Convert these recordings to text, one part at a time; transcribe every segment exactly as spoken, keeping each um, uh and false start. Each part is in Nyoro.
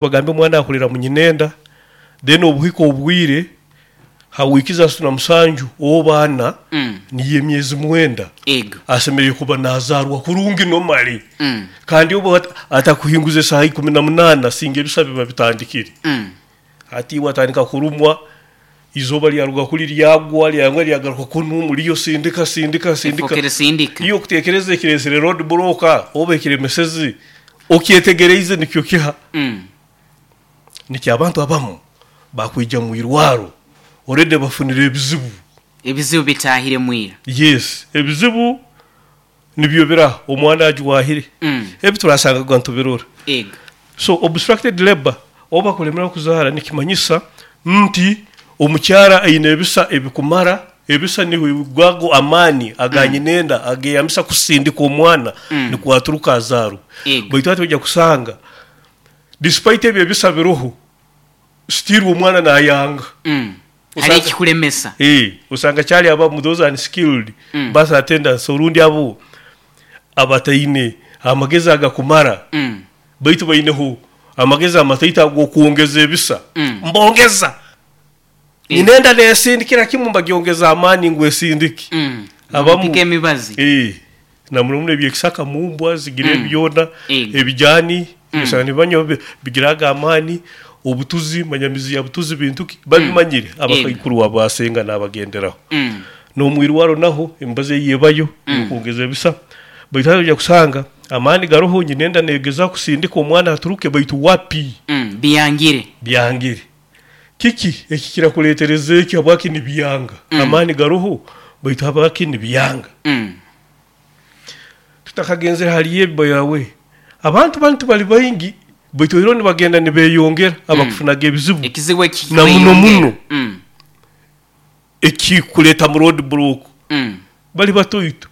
Bagambe omwana akurira mu nyinenda, then obuhika obwire ha wiiki asatu na musanju oba ana, Mm. niyo emyezi mwenda, Ego. asemeriire kuba nazaarwa kurungi normally. Mm. Kandi obu at- atakuhinguza esaaha ikumi na munaana, singa ebisa biba bitandikire. Mm. Hati iwe atandika kurumwa, izooba lyaruga kuli lyagwa, lyangwa lyagaruka kunu, muliyo sindika sindika sindika. Efokere sindika. Iyo okuteekereza ekireesere road block oba ekiremeseze, okyetegereize nikyo kiha. Mm. Nikyo abantu abamu bakwija mu irwaro already bafunire ebizibu. Ebizibu bitahire mwira. Yes, ebizibu nibyo biraha omwana ajwahire. Mm. Ebi turasangaga ntubirora. Ego. So obstructed labor oba kulemera kuzaara nikimanyisa nti omukyara aine ebisa ebikumara, ebisa niho gwago amaani aganyinenda ageyambisa kusindika omwana, Mm. nikwo aturuka azaarwe. Ego. Baitu hati ojja kusanga despite ebyo ebisa biroho, still omwana nayanga. Mm. Usanga- Hari ekikulemesa. Eh, osanga kyali abamu those unskilled Mm. birth attendants, orundi abo abataine amagezi agakumara, Mm. baitu baineho amagezi amataito ag'okwongeza ebisa. Mm. Mbongeza Eh. nyinenda nesindikira kimu, mbagyongeza amaani ngu esindike. Mm. Abamu- Mpika emibazi. Eh, na muno muno ebyekisaka mumbwa zigira Mm. ebyona, Ego. ebijani, Mm. osanga nibanywa bi- bigiraga amaani, obutuzi manyamizi ya butuzi bintu ki babimanyire abakaikuru abasenga n'abagenderaho. Mm. N'omwirwaro naho emibazi eyebayo Mm. okwongeza ebisa, baitu hati ojja kusanga amaani garoho, nyinenda negeza kusindika omwana aturuke, baitu wapi. Mm. Biyangire. Byangire. Kiki ekikira kuleetereza eki? Habwaki nibyanga? Mm. Amaani garoho, baitu habwaki nibyanga? Mm. Tutakagenzere hali ebi yawe, abantu bantu bali baingi, baitu era nibagenda nibeyongera abakufunaga ebizibu. Ekizibu eki Na muno muno. Mm. Ekikuleeta mu road block, Mm. bali batoito,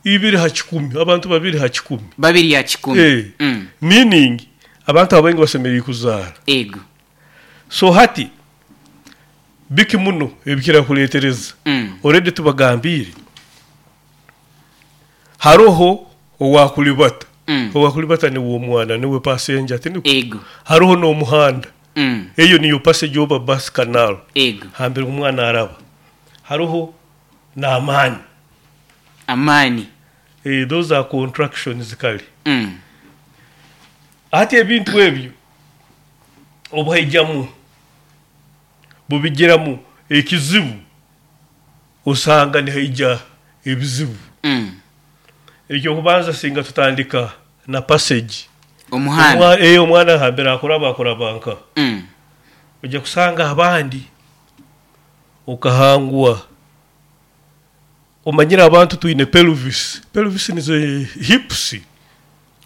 ibiri ha kikumi, abantu babiri ha kikumi. Babiri ya kikumi. Eh. Mm. Meaning abantu abaingi basemeriire kuzaara. Ego. So hati biki muno ebikira kuleetereza? Mm. Already tubagambiire haroho owakulibata. Mm. Owakulibata niwe omwana, niwe passenger, tiniko? Ego. Haroho n'omuhanda. Mm. Eyo niyo passage oba bus canal Ego. hambere omwana araba. Haroho n'amaani. Amaani. Eh, those are contractions kale. Mm. Ati ebintu ebyo obuhaijamu bubigiramu ekizibu, osanga nihaija ebizibu. Mm. Ekyokubanza, singa tutandika na passage. Omuhanda. Omwa- eh, omwana hambere akuraba akuraba nka Mm. ojja kusanga abandi okahangwa omanyire abantu twine pelvis. Pelvis nizo hips.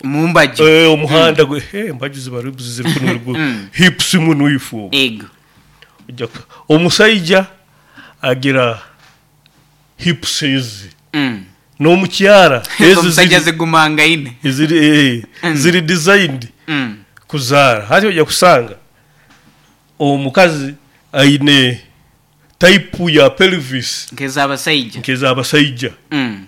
Mumbaju. Eh, omuhanda gwe, eh, embaju ziba ribs ziri kuno ruguru. Mm. Hips muno ifo. Ego. Ojja ku- omusaija agira hips ezi, Mm. n'omukyara ezi. Omusajja ziri, zigumangaine. ziri, eh, Mm. ziri designed Mm. kuzaara. Hati ojja kusanga omukazi aine type ya pelvis Nk'ez'abasaija. nk'ez'abasaija, Mm.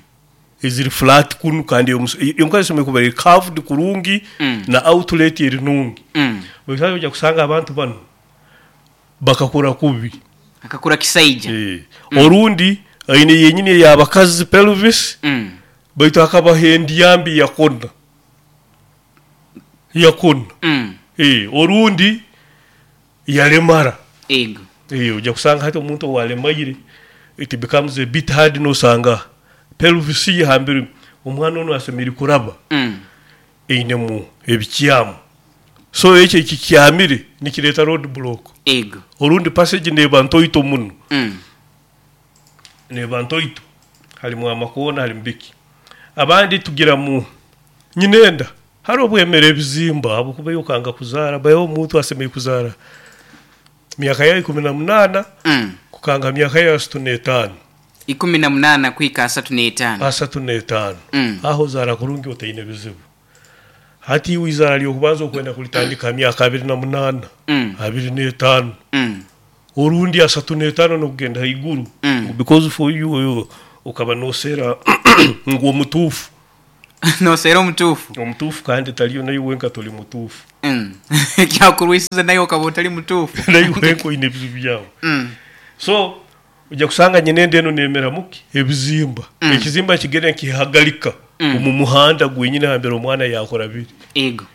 eziri flat kunu, kandi omus- omukazi asemeriire kuba eri curved kurungi, Mm. na outlet eri nungi. Mm. Baitu hati ojja kusanga abantu bano bakakura kubi. Akakura kisaija. Eh. Orundi aine yenyini ey'abakazi pelvis, Mm. baitu akabaho endyambi yakona yakona. Mm. Eh, orundi yalemara. Ego. Eh, ojja kusanga hati omuntu owalemaire, it becomes a bit hard, nosanga pelvis ye hambere omwana onu asemeriire kuraba Mm. einemu ebikyamu. So ekyo ekikyamire nikireeta road block. Ego. Orundi passage neba ntoito muno. Mm. Neba ntoito, halimu amakoona, halimu biki. Abandi tugira mu nyinenda hari obwemere ebizimba habwokuba yokanga kuzaara. Bayo omuntu asemeriire kuzaara myaka ya ikumi na munaana Mm. kukanga myaka ya asatu n'etaano. Ikumi na munaana kwika asatu n'etaano. Asatu n'etaano. Mm. Aho ozaara kurungi otaine bizibu. Hati iwe izaara lyokubanza okwenda kulitandika myaka abiri na munaana, Mm. abiri n'etaano, Mm. orundi asatu n'etaano n'okugenda haiguru, Mm. because for you, you okaba noseera ngu omutuufu. Noseera omutuufu. Omutuufu kandi taliyo, naye wenka toli mutuufu. Mm. Ekyakurwisiza naye okaba otali mutuufu. Naye wenka oyine ebizibu byawe. Mm. So ojja kusanga nyina enda eno nemeramuki ebizimba. Mm. Ekizimba kigenda nkihagalika Mm. omu muhanda gwenyine hambere omwana yakora biri. Ego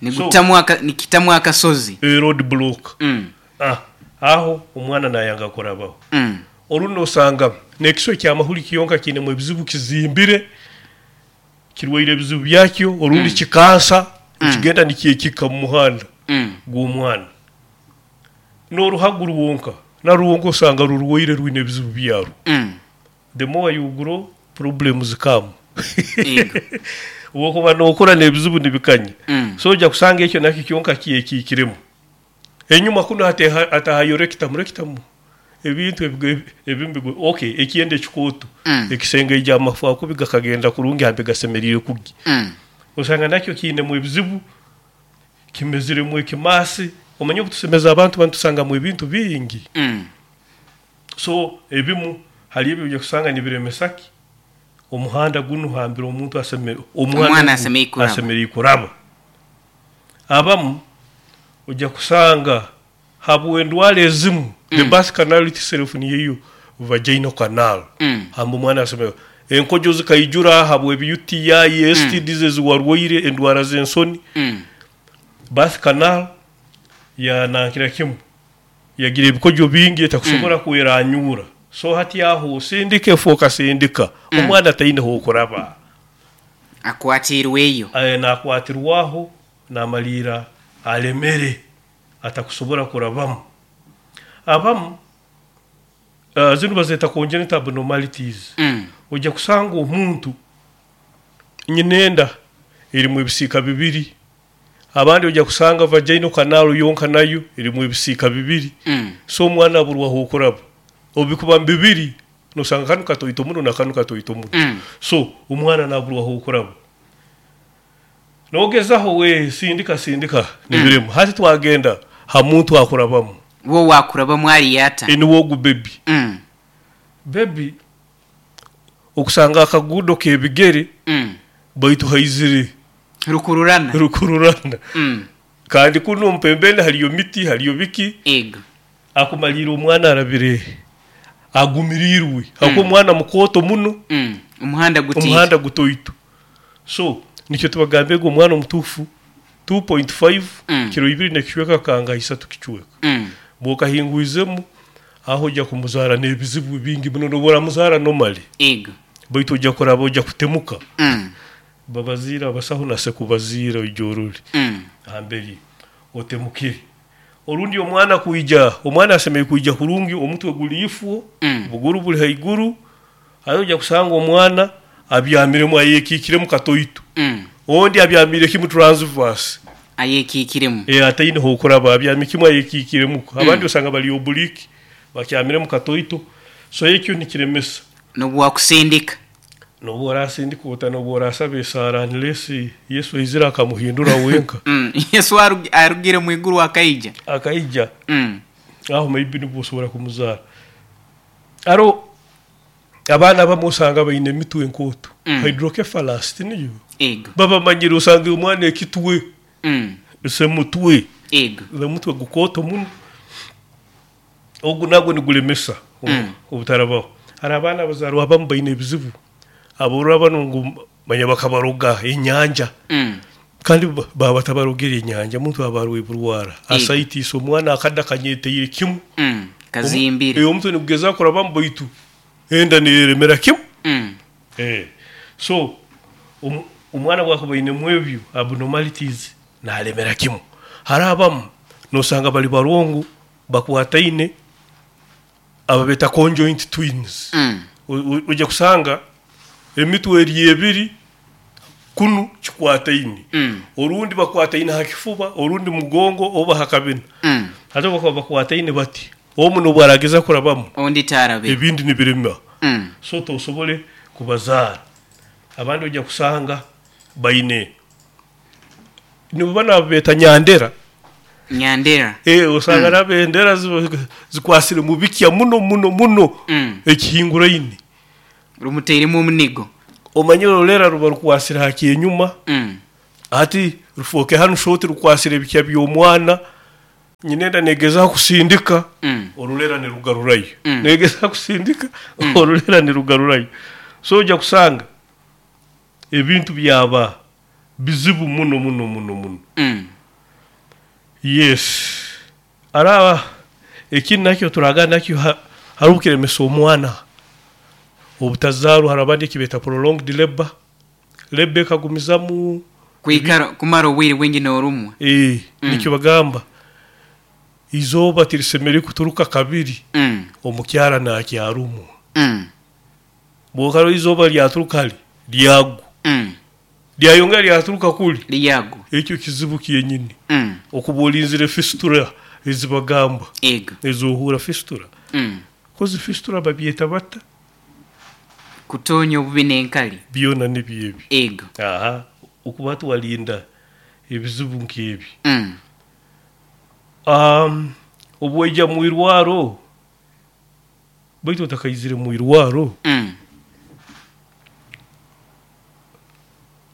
nigutamu aka- nikitamu akasozi. E road block. Mm. Ah, aho omwana nayanga kurabaho. Mm. Orundi osanga nekiso ekyamahuri kiyonka kiinemu ebizibu, kizimbire, kirwaire ebizibu byakyo, orundi Mm. kikansa. Mm. Kigenda nikyekika mu muhanda Mm. gw'omwana. N'oruhagu rwonka narwonka osanga rurwaire, rwine ebizibu byarwo. Mm. The more you grow, problems come. Ego. Wokuba nokura n'ebizibu nibikanya. Mm. So ojja kusanga ekyo nakyo kyonka kyekiikiremu enyuma kuno ate- atahayo rectum. Rectum ebintu ebigo- ebimu bigo- okay, ekyenda ekikooto. Mm. Ekisenge egyamafu akubi gakagenda kurungi hambe gasemeriire kugi. Mm. Osanga nakyo kiinemu ebizibu, kimeziremu ekimasi. Omanye obutusemeza abantu bantusangamu ebintu bingi. Mm. So ebimu hali ebyo ojja kusanga nibiremesaki omuhanda gunu hambire omuntu aseme Omwana asemeriire kuraba. Asemeriire kuraba. Abamu ojja kusanga habwendwara ezimu, the Mm. birth canal itself niyeyo vaginal canal. Mm. Hamba omwana aseme enkojo zikaijura habwe ebi U T I, S T Ds eziwarwaire, endwara z'ensoni. Mm. Birth canal yanankira kimu yagira ebikojo bingi etakusobora mm. kweranyura. So hati aho sindika efuuka sindika. Mm. Omwana taine hokuraba. Akwatirweyo. Aye, nakwatirwaho namaliira alemere atakusobora kurabamu. Abamu uh, zinu bazeta congenital abnormalities. Mm. Ojja kusanga omuntu nyinenda erimu ebisiika bibiri. Abandi ojja kusanga vaginal canal yonka nayo erimu ebisiika bibiri. Mm. So omwana aburwaho okuraba. Obikuba bibiri nosanga kanu katoito muno na kanu katoito muno. Mm. So omwana naburwaho okuraba, nogezaho we sindika sindika nibiremu. Hati twagenda ha muntu akurabamu. Wo wakurabamu aliyata. Eniwogu baby. Mm. Baby okusanga akagudo kebigere Mm. baitu haizire rukururana. Rukururana. Mm. Kandi kuno mpembeni haliyo miti, haliyo biki. Ego. Akumalira omwana arabire agumirirwe mm. omwana mukoto muno. Mm. Umuhanda gutiye. Omuhanda gutoito. So nikyo tubagambe ngu omwana omutuufu two point five Mm. kiro ibiri nekicweka kanga isatu kicweka. Mm. Bwokahingwizemu aho ojja kumuzara n'ebizibu bingi muno. Nobora muzara normally, Ego. baitu ojja kuraba ojja kutemuka. Mm. Babaziira abasaho nase kubaziira ojorole Mm. hamberi otemukire. Orundi omwana kuija, omwana asemeriire kuija kurungi, omutwe guli ifwo, Mm. buguru buli haiguru. Ayo ojja kusanga omwana abyamiremu, ayekikiremu katoito. Mm. Ondi abyamire kimu transverse. Ayekikiremu. E ataine hokuraba, abyami kimwe, ayekikiremu. Abandi osanga bali oblique, bakyamiremu katoito. So ekyo nikiremesa. Nobu wakusindika. Nobu orasindika ota, nobu orasaba esaara, unless Yesu aizire akamuhindura wenka. Mm. Yesu arugi- arugire mu iguru akaija. Akaija. Mm. Aho maybe nibwo osobora kumuzaara. Aro abaana abamu osanga baine emitwe enkooto. Mm. Hydrocephalus tiniyo. Ego. Babamanyire osanga omwana ekitwe Mm. semutwe Ego. omutwe gukooto muno. Ogu nagwo nigulemesa Mm. obutarabaho. Hari abaana abazaarwa abamu baine ebizibu, aborora bano ngu manya bakabaroga enyanja. Mm. Kandi ba- baba batabarogere enyanja, muntu aba arwaire burwara Ego. asaitis, omwana akadda kanyeteire kimu. Mm. Kazimbire. Eh, omutwe nigugeza kurabamu baitu enda niyeremera kimu. Mm. Eh, so om- omwana bwakuba ainemu ebyo abnormalities nalemera kimu. Hari abamu nosanga bali barongo bakwataine, aba beta conjoint twins. Mm. O- o- ojja kusanga emitwe eri ebiri kunu kikwataine. Mm. Orundi bakwataine ha kifuba, orundi mugongo oba hakabina. Mm. Ate bakuba bakwataine bati, omu nobwo arageza kurabamu, Ondi tarabe. ebindi nibirema. Mm. So tosobole kubazaara. Abandi ojja kusanga baine nibo bana beta nyandera. Nyandera. Eh, osanga mm. nabendera ziba- zikwasire mu bikya muno muno muno. Mm. Ekihinguraine. Rumuteiremu omunigo. Omanyire orulera ruba rukwasire ha kyenyuma, Mm. ati rufooke hanu shoti rukwasire ebikya by'omwana, nyinenda negezaho kusindika, Mm. orulera nirugarurayo. Mm. Negezaho kusindika, orulera nirugarurayo. So ojja kusanga ebintu byaba bizibu muno muno muno muno. Mm. Yes, araba ekindi nakyo turaga nakyo ha- hariho kiremesa omwana obutazaarwa. Hari abandi ekibeeta prolonged labor, labor ekagumizamu. Kwikara kumara obwire bwingi n'orumwa. Eh, Mm. nikyo bagamba izooba tirisemere kuturuka kabiri Mm. omukyara nakyarumwa. Mm. Bwokaro izooba lyaturuka hali lyagwa, Mm. lyayongera lyaturuka kuli, Lyago. ekyo kizibu kyenyini. Mm. Okuba olinzire fistula ezibagamba, Ego. ezohura fistula, Mm. kozi fistula babyeta bata? Kutonya obubi n'enkali. Byona nibyebi. Ego. Aha, okuba tuwalinda ebizibu nk'ebi. Mm. um, obwaija mu irwaro, baitu otakaizire mu irwaro, Mm.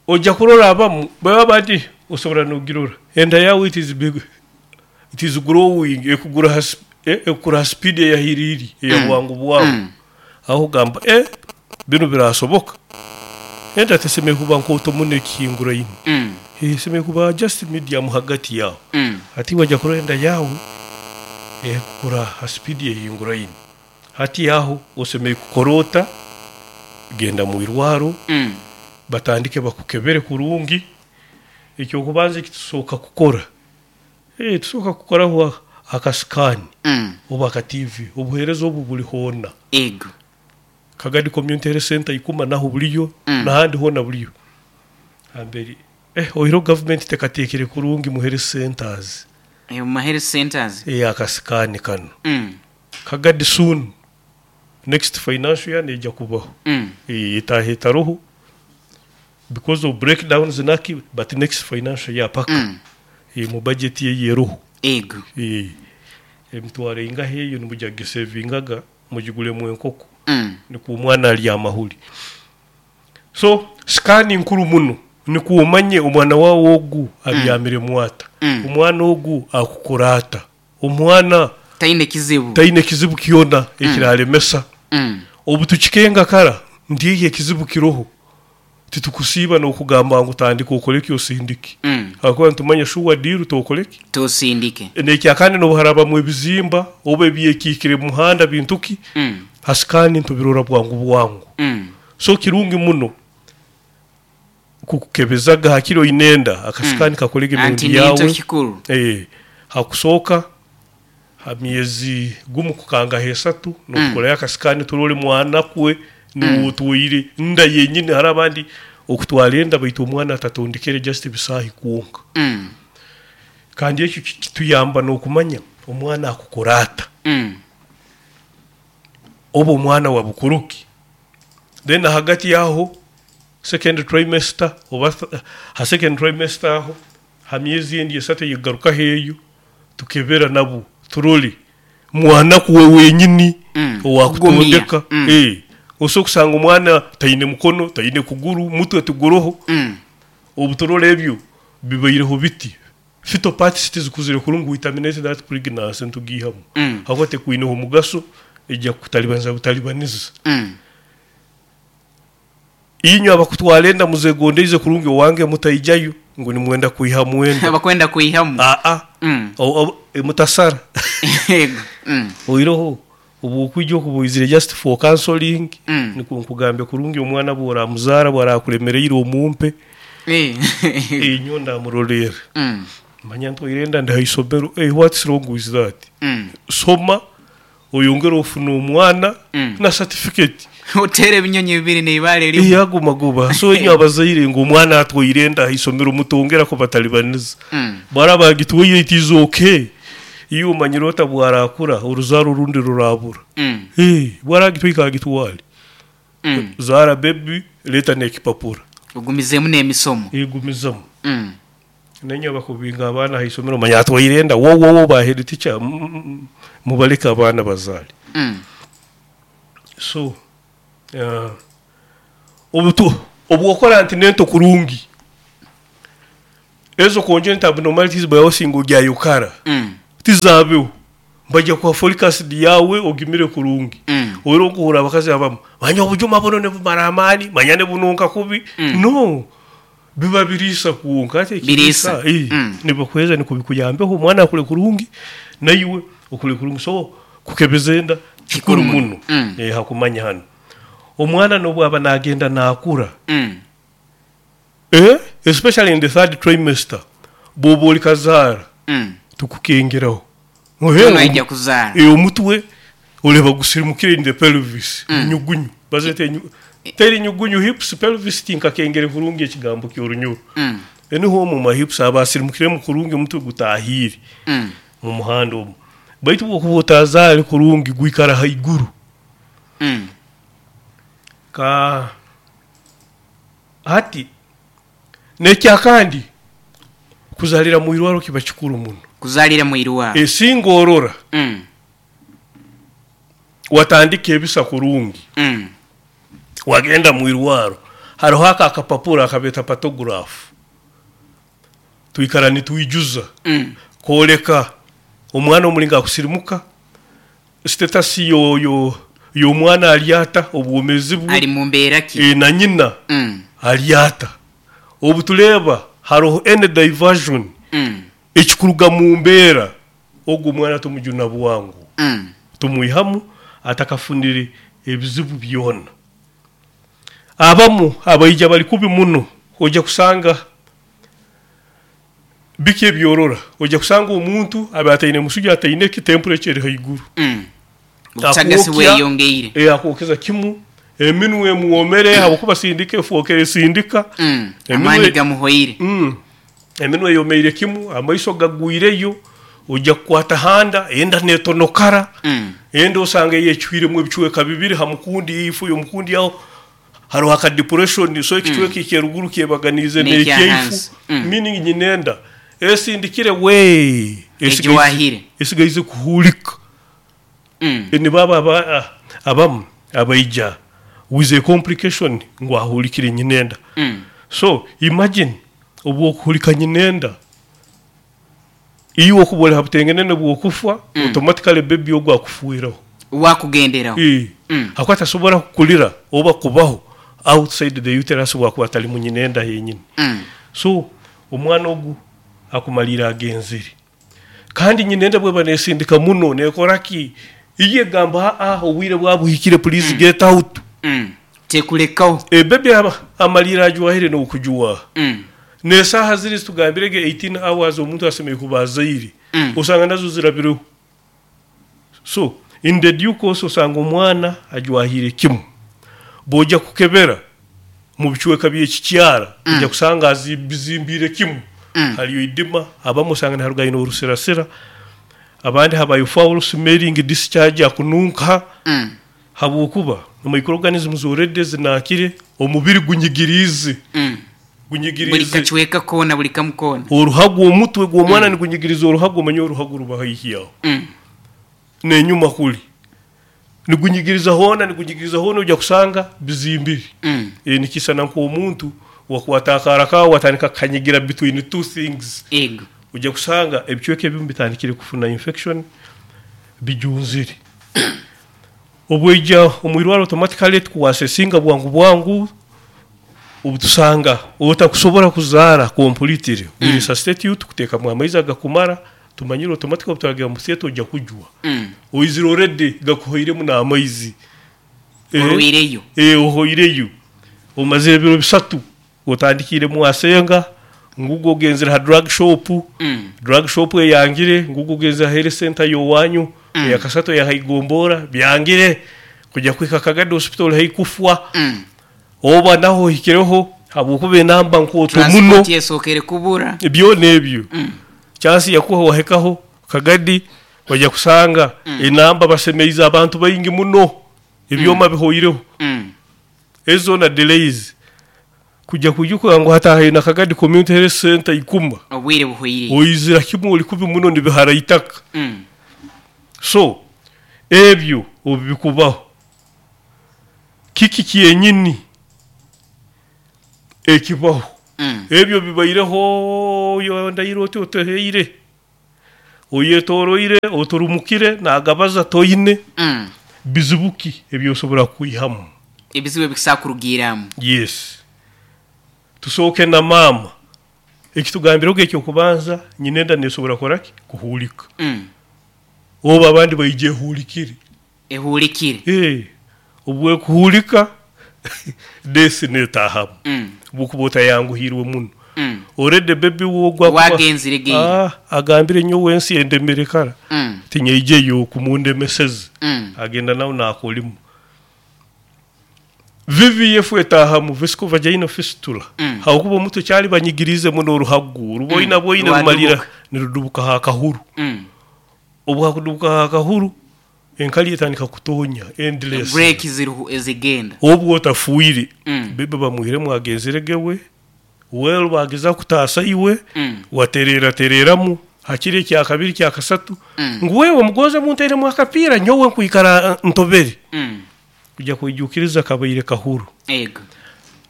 ojja kurora abamu baba bati osobora nogirora enda yawe it is big, it is growing, ekugura ha sp- eh, ekukura ha speed eyahiriri eya Mm. bwangu bwawe. Mm. Aho ogamba, eh, bino birasoboka, enda tesemere kuba nkooto muno ekihinguraine, Mm. esemere kuba just medium hagati yawe. Mm. Hati wajja kurora enda yawe ekukura ha speed ehinguraine, hati aho osemere kukorota genda mu irwaro, Mm. batandike bakukebere kurungi. Ekyokubanza ekitusooka kukora, eh, tusooka kukoraho akasikani Mm. oba aka T V. Obuheereza obu buli hoona. Ego. Kagadi Community Health Center ikuma naho buliyo, Mm. nahandi hoona buliyo. Hamberi eh, oiro government tekateekere kurungi mu health centers. Eyo mu health centers. Eh, akasikani kano, Mm. Kagadi soon, next financial year nejja kubaho. Mm. Eh, etaha etaroho because of breakdowns naki, but next financial year paka, Mm. eh, mu budget ye yeroho. Ego. Eh, emitwaro ingahe eyo nimujya gisevingaga mugigulemu enkoko, Mm. nikwo omwana alya amahuri. So scan nkuru muno, nikwo omanye omwana wawe ogu abyamire mwata, Mm. omwana ogu akukora ata, omwana taine kizibu. Taine kizibu kyona ekiralemesa. Mm. Obu tukikenga kara nti ekizibu kiroho, titukusiiba n'okugamba ngu tandika okoleki osindike, Mm. hakuba nitumanya shuwa diru tokoleki. Tosindike. Nekyakandi nobuharabamu ebizimba oba ebyekiikire mu muhanda bintuki, Mm. hasikani ntubirora bwangu bwangu. Mm. So kirungi muno kukukebezaga hakiri oinenda akasikani, kakolege anti emirundi ninto yawe. Kikuru. Eh, hakusooka ha myezi gumu kukanga hesatu nokukolayo akasikani turole mwana kwe niwotwaire nda yenyini. Hari abandi okutwara enda baitu omwana atatondekere, just ebisaahi kwonka. Mm. Kandi ekyo kituyamba n'okumanya omwana akukora ata, Mm. oba omwana wa bukuruki. Then hagati yaho second trimester oba th- ha second trimester aho ha myezi endi esatu eyigarukaho eyo tukebera nabo turole mwana kuwe wenyini, Mm. owakutondeka. Kugumya. Mm. Eh, osobola kusanga omwana taine mukono, taine kuguru, mutwe tuguroho. Mm. Obu turora ebyo bibaireho biti, fetal parts tizikuzire kurungi, we terminate that pregnancy, ntugihamu, Mm. hakuba tekwineho omugaso, ejja kutalibaniza butalibaniza. Mm. Inywe abakutwara enda muzegondeize kurungi, owange mutaijayo ngu nimwenda kwiha mwenda. Abakwenda kuihamu. Aa. Mm. O- o- e, mutasara. Ego. Mm. Oiroho obu okwijja okubuizire just for counseling, Mm. nikwo nkugambe kurungi omwana bworamuzaara bwarakulemereire omumpe. Eh. Inyo ndamurolera, Mm. manya ntwaire enda ndi haisomero. Hey, what's wrong with that? Mm. Soma oyongere ofuna omwana Mm. na certificate. Otere ebinyonyi bibiri n'eibaale rimwe. Iyagumaguba. So inyo abazaire ngu omwana atwaire enda haisomero mutongerako batalibaniza. Mm. Bwara bagitwaire, it is okay. Iyo omanyire ota bwarakura oruzaaro orundi rurabura. Mm. Eh, bwaragitwaire agitwale. Mm. Zaara baby, leta n'ekipapura. Ogumizemu n'emisomo. Egumizamu. Mm. Nenye bakubinga abaana haisomero, manya atwaire enda, wowowo ba head teacher, mm, mm, mm, mubaleke abaana bazaale. Mm. So uh, obu tu Obwokora antenatal kurungi, ezo congenital abnormalities bwawe ogyayokara Mm. tizabeho, bajja kuha folic acid yawe ogimire kurungi. Mm. Ora okuhura abakazi abamu manya obujuma buno nibumara amaani, manya nibununka kubi. Mm. No, biba biriisa kwonka ate Biriisa. ekiriisa, eh, Mm. nibakuheza nikubikuyambeho omwana akure kurungi naiwe okure kurungi. So kukebeza enda kikuru Kikuru muno. muno. Mm. Eh, hakumanya hano omwana nobwo aba nagenda nakura, Mm. eh, especially in the third trimester, bwoba oli kazaara, Mm. tukukengeraho. Ono aija kuzaara. Eh, omutwe oleba gusirimukire in the pelvis. Mm. Nyugunyu bazete nyu, teri nyugunyu, hips, pelvis, tinkakengere kurungi ekigambo ky'orunyoro. Mm. Eniho mu ma hips aba asirimukiremu kurungi, omutwe gutahire Mm. mu muhanda omu, baitu bwokuba otazaare kurungi gwikara haiguru. Mm. Ka hati nekyakandi, kuzalira mu irwaro kiba kikuru muno. Kuzalira mu irwaro. Esinga orora Mm. watandika ebisa kurungi, Mm. wagenda mu irwaro, hariho aka akapapura akabeta partograph, twikara nitwijuza Mm. kwoleka omwana omulinga akusirimuka, status yo yo y'omwana alyata, obwomezi bwe ali mu mbeera ki, e, na nyina Mm. alyata. Obu tuleba hariho any diversion Mm. ekikuruga mu mbeera, ogwo omwana tumujuna bwangu, Mm. tumwihamu atakafunire ebizibu byona. Abamu abaija bali kubi muno, ojja kusanga biki ebyorora, ojja kusanga omuntu aba ataine musuja, ataine ki, temperature eri haiguru. Mm. Obusagasi Akwokya- bweyongeire. Eh, akwokeza kimu, eminwe emuwomere habwokuba sindika efuokere sindika. Mm. Eminwe- amaani gamuhoire. Mm. Eminwe yomeire kimu, amaiso gagwireyo, ojja kukwata handa enda netonokara. Mm. Enda osanga yecwiremu ebicweka bibiri, hamukundi ifu yomukundi aho hariho aka depression, so ekicweka mm. ekyeruguru kyebaganize N'ekya nekyeifu. hansi. Mm. Meaning nyinenda esindikire we Egiwahire. Esigaize kuhulika. Mm. Nibaba aba, ah, abamu abaija with a complication ngu ahulikire nyinenda. Mm. So imagine obwokuhulika nyinenda, iwe okuba oli habutengenene bwokufa, Mm. automatically baby ogwo akufuiraho. Wakugenderaho. Eh. Mm. Hakuba tasobora kukulira oba kubaho outside the uterus bwakuba atali mu nyinenda yenyini. Mm. So omwana ogu akumalira agenzire, kandi nyinenda bweba nesindika muno nekoraki, iye gamba, ah, obwire bwabuhikire, please get out. Mm. tekulekaho. E baby aba amalira ajwahire n'okujuwa. Mm. Nesaha ziri tugambirege eighteen hours omuntu asemeye kuba azaire, Mm. osanga nazo zirabireho. So in the due course osanga omwana ajwahire kimu, bwojja kukebera mu bicweka by'ekikyara, Mm. ojja kusanga azimbire kimu. Mm. Haliyo idima, abamu osanga niharugayo n'orusirasira, abandi habayo foul smelling discharge, akununka, Mm. habwokuba microorganisms already zinakire, omubiri gunyigirize. Mm. Buli Gunyigirize kacweka koona, buli kamu koona. Oruhago, omutwe gw'omwana nigunyigiriza oruhago, omanye oruhago ruba haihi aho Mm. nenyuma kuli, nigunyigiriza hoona, nigunyigiriza hoona, ojja kusanga bizimbire. Mm. E, nikisana nk'omuntu wakwata akaara kawe watandika kukanyigira between two things, ego ojja kusanga ebicweka ebimu bitandikire kufuna infection, bijunzire. Obweija omwirwaro, automatically tukuwasesinga bwangu bwangu. Obutusanga otakusobora kuzaara completely, mm. we resuscitate you, tukuteekamu amaizi agakumara. Tumanyire automatically obuturagira mu theatre ojja kujwa, Mm. oizire already gakuhoiremu n'amaizi. Eh, orwireyo. Eh, ohoireyo, omazire ebiro bisatu, otandikire mwasenga ngugo ogenzere ha drug shop. Mm. Drug shop eyangire, ngugo ogenzere ha health center yowanyu, Mm. eyakasato yahaigombora byangire, kujya kwika Kagadi Hospital haikufwa. Mm. Oba naho hikireho habwokuba enamba nkooto muno. Transport yesookere kubura. Byona ebyo, Mm. chansi yakuha wahekaho Kagadi, wajya kusanga Mm. enamba basemeize abantu baingi muno, ebyoma bihoireho. Mm. Ezo na delays kujya kujuka ngu hatahayo na Kagadi Community Health Center ikuma, obwire buhwire. oizira kimwe oli kubi muno, nibihara itaka. Mm. So ebyo obu bikubaho, kiki kyenyini Ekibaho Mm. ebyo bibaireho, yondaire oti oteheire, oyetoroire, oturumukire nagabaza toine. Mm. Bizibu ki ebyosobora kwihamu? Ebizibu ebikusobola kurugiramu. Yes, tusooke na maama. Ekitugambire ekyokubanza, nyinenda nesobora kukoraki? Kuhuulika. Mm. Oba abandi baija ehuulikire. Ehuulikire. Eh, obwekuhuulika desi netaahamu. Mm. Bwokuba otayanguhirwe muno, Mm. already baby wogwa wagenzire geire. Ah, agambire nyowe ensi endemere kara, Mm. tinyaijeyo kumundemeseze. Mm. Agenda nawe nakolimu V V F etahamu, vesico vaginal fistula. Mm. Hakuba omutwe kyali banyigirize muno oruhagu ruboina Mm. bwoine Rwadubuka. rumalira nirudubuka ha kahuru. Mm. Obu hakudubuka ha kahuru, enkali etandika kutonya endless. Break ziruhu ezigenda. Obu otafuire, Mm. bebe bamuhiremu agenzere gewe, well, bageza kutaasa iwe, Mm. waterera tereramu hakiri ekyakabiri, kyakasatu, Mm. ngu wewe mugonze munteremu akapiira, nyowe nkwikara eh, ntobere. Mm. Kujya kwijukiriza kabaire kahuru. Ego.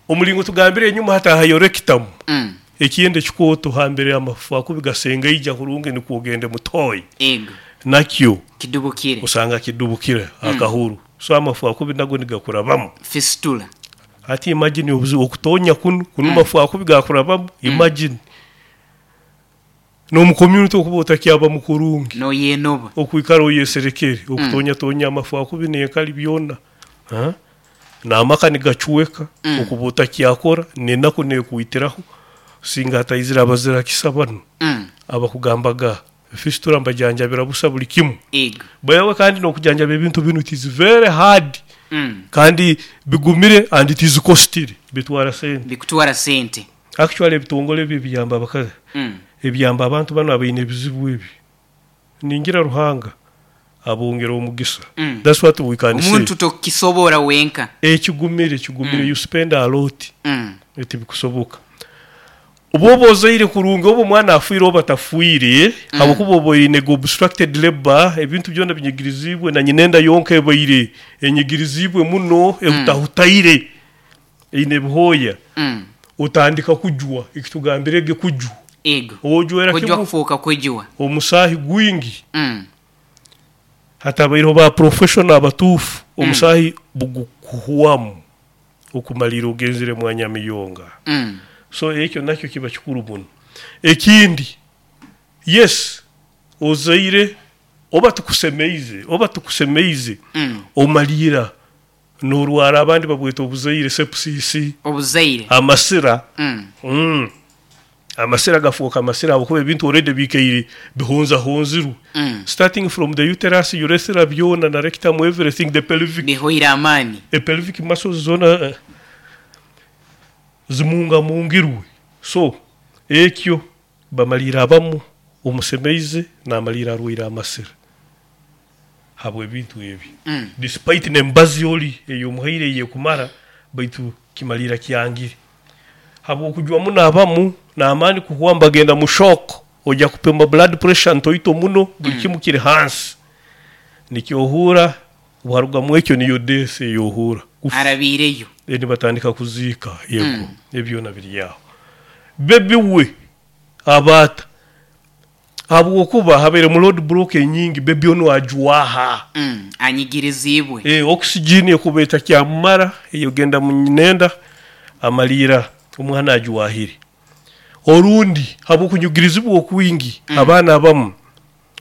Omulingo tugambire enyuma, hatahayo rectum. Mm. Ekindi ekikooto hambere, amafu akubi gasengeija kurungi nikwo ogende mutoyi. Ego. Nakyo kidubukire. Osanga kidubukire akahuru, so amafu akubi nago nigakurabamu. Fistula. Hati imagine obuzibu okutonya kunu kunu, mm. mafu akubi gakurabamu. Imagine n'omu community okuba otakyaba mukurungi. Noyenoba. Okwikara oyeserekere, okutonya tonya amafu akubi nenkali byona. Ha? N'amaka nigacweka. Mm. Okuba otakyakora nenaku nekuitiraho singa hataizire abazira kisa bano, Mm. abakugambaga fistula mbajanjabira busa buli kimu. Ego. Bayawe kandi n'okujanjaba ebintu binu, it is very hard. Mm. Kandi bigumire and it is costly, bitwara sente. Bikutwara sente. Actually ebitongole ebi ebiyamba abakazi, Mm. ebiyamba abantu bano abaine ebizibu ebi, ningira Ruhanga abongera omugisa. Mm. That's what we can say. Omuntu tokisobora wenka. Ekigumire kigumire. Mm. You spend a lot. Mm. Tibikusoboka. Oba oba ozaire kurungi, oba omwana afiire oba tafiire, Mm. habwokuba oba oine obstructed labor, ebintu byona binyigirizibwe na nyinenda yonka ebaire enyigirizibwe muno, ehutahutaire, eine ebihooya. Mm. Otandika kujwa, ekitugambirege kujwa. Ego. Ojwera kujwa kimu kufuuka kujwa. Omusaahi gwingi. Mm. Hatabaireho ba professional abatuufu, omusaahi bugukuhwamu okumalira ogenzere mwanya miyonga. Mm. So ekyo nakyo kiba kikuru muno. Ekindi, yes, ozaire oba tukusemeize oba tukusemeize, Mm. omalira norwara, abandi babweta obuzaire sepsis. Obuzaire. Amasira. Mm. mm. amasira gafuuka amasira habwokuba ebintu already bikaire bihonzahonzirwe, Mm. starting from the uterus, urethra, byona na rectum, everything, the pelvic. Bihoire amaani. E pelvic muscles zona eh, zimungamungirwe. So ekyo bamalira abamu omusemeize namalira arwaire amasira habw'ebintu ebi, Mm. despite nembazi oli eyomuhaire eyekumara, baitu kimalira kyangire habwokujwa muno. Abamu n'amaani kuhwa, mbagenda mu shock, ojya kupima blood pressure ntoito muno, buli kimu kiri hansi, nikyohuura bwarugamu ekyo niyo death eyohuura. Kufa. Arabiireyo. Then batandika kuziika. Yego, ebyona biri aho. Baby we abaata habwokuba habaire mu road block enyingi, baby ono ajwaha. Mm. Anyigirizibwe. E, oxygen ekuba etakyamumara eyogenda mu nyinenda, amalira omwana ajwahire. Orundi habwokunyugirizibwa okwingi, mm. abaana abamu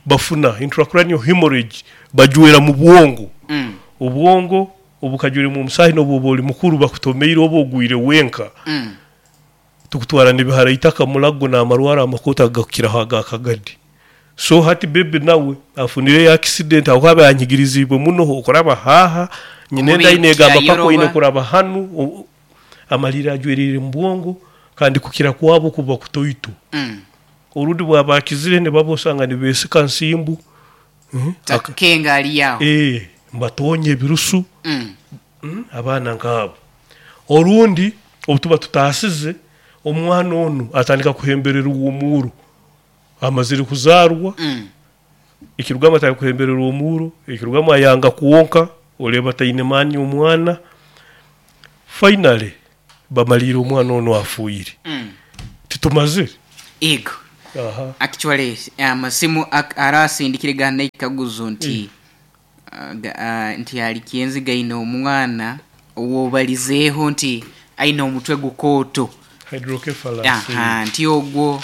bafuna intracranial hemorrhage, bajwera mu bwongo. Mm. Obwongo obukajwire mu musaahi, n'obwoba oli mukuru bakutomeire oba ogwire wenka, Mm. tukutwara nibihara itaka mulago n'amarwara amakota gakukiraho agakagadi. So hati baby nawe afunire accident aho aba yanyigirizibwe muno, okuraba haha nyinenda Omubiri inegamba pako kyayoroba. ine kuraba hanu, o- amalira ajwerire mu bwongo, kandi kukira kwabo kuba kutoito. Mm. Orundi bwaba akizire, nibaba osanga nibesika nsimbu. Mhm. Takenga ali aho. Eh, mbatonye ebirusu. Mm. Mm, abaana nk'abo orundi obu tuba tutaasize, omwana onu atandika kuhembererwa omuuro amazire kuzaarwa. Mm. Ekirugamu atandika kuhembererwa omuuro, ekirugamu ayanga kwonka, oleba taine maani omwana. Finally Bamalire omwana ono afuire. Mm. Titumazire. Ego. Aha. Actually amasimu ak- arasindikire gana ekaguzo nti uh, ga- ah, nti ali kyenziga ine omwana owobalizeeho nti aine omutwe gukooto. Hydrocephalus. Aha, nti ogwo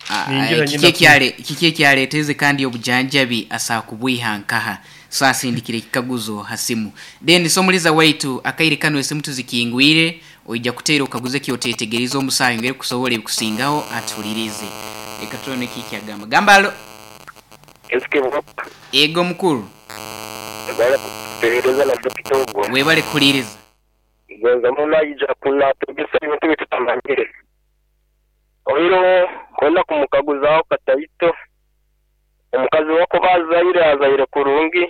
ah, Ningira kiki nyina ekyale- kiki ekyaleeteze kandi obujanjabi asaakubwiha nkaha. So asindikire ekikaguzo ha simu. Then somuliza waitu akaire kano esimu tuzikingwire, oija kuteera okaguze kyotetegereza omusaayi ngeri kusobola ebikusingaho atulirize. Reka turone kiki agamba. Gamba alo. Ego mukuru. Webale kutegereza na dokita ogwo. Webale kuhuliriza. Gonza muno aija kunatugisa ebintu bitutamanyire. Oiro kwenda kumukaguzaho kataito. Omukazi wako bazaire azaire kurungi.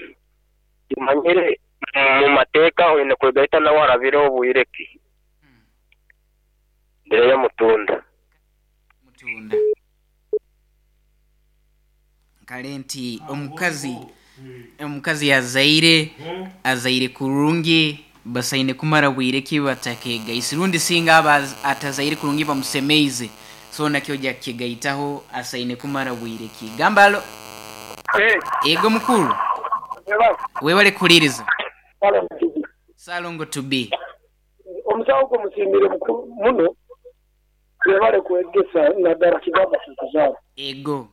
Tumanyire mu mateeka oine kwegaita nawe arabire obwireki. Mbere ya mutunda. Mutunda. Kale nti omukazi omukazi azaire azaire kurungi basaine kumara bwire ki batakegaisi rundi singa aba az- atazaire kurungi bamusemeize so nakyo jakigaitaho asaine kumara bwire ki. Gambalo. Ego mukuru. Webale kuliriza. Salongo to be. Omusawo gwo musiimire mukuru muno webale kwegesa naddala kigamba kuzaala. Ego.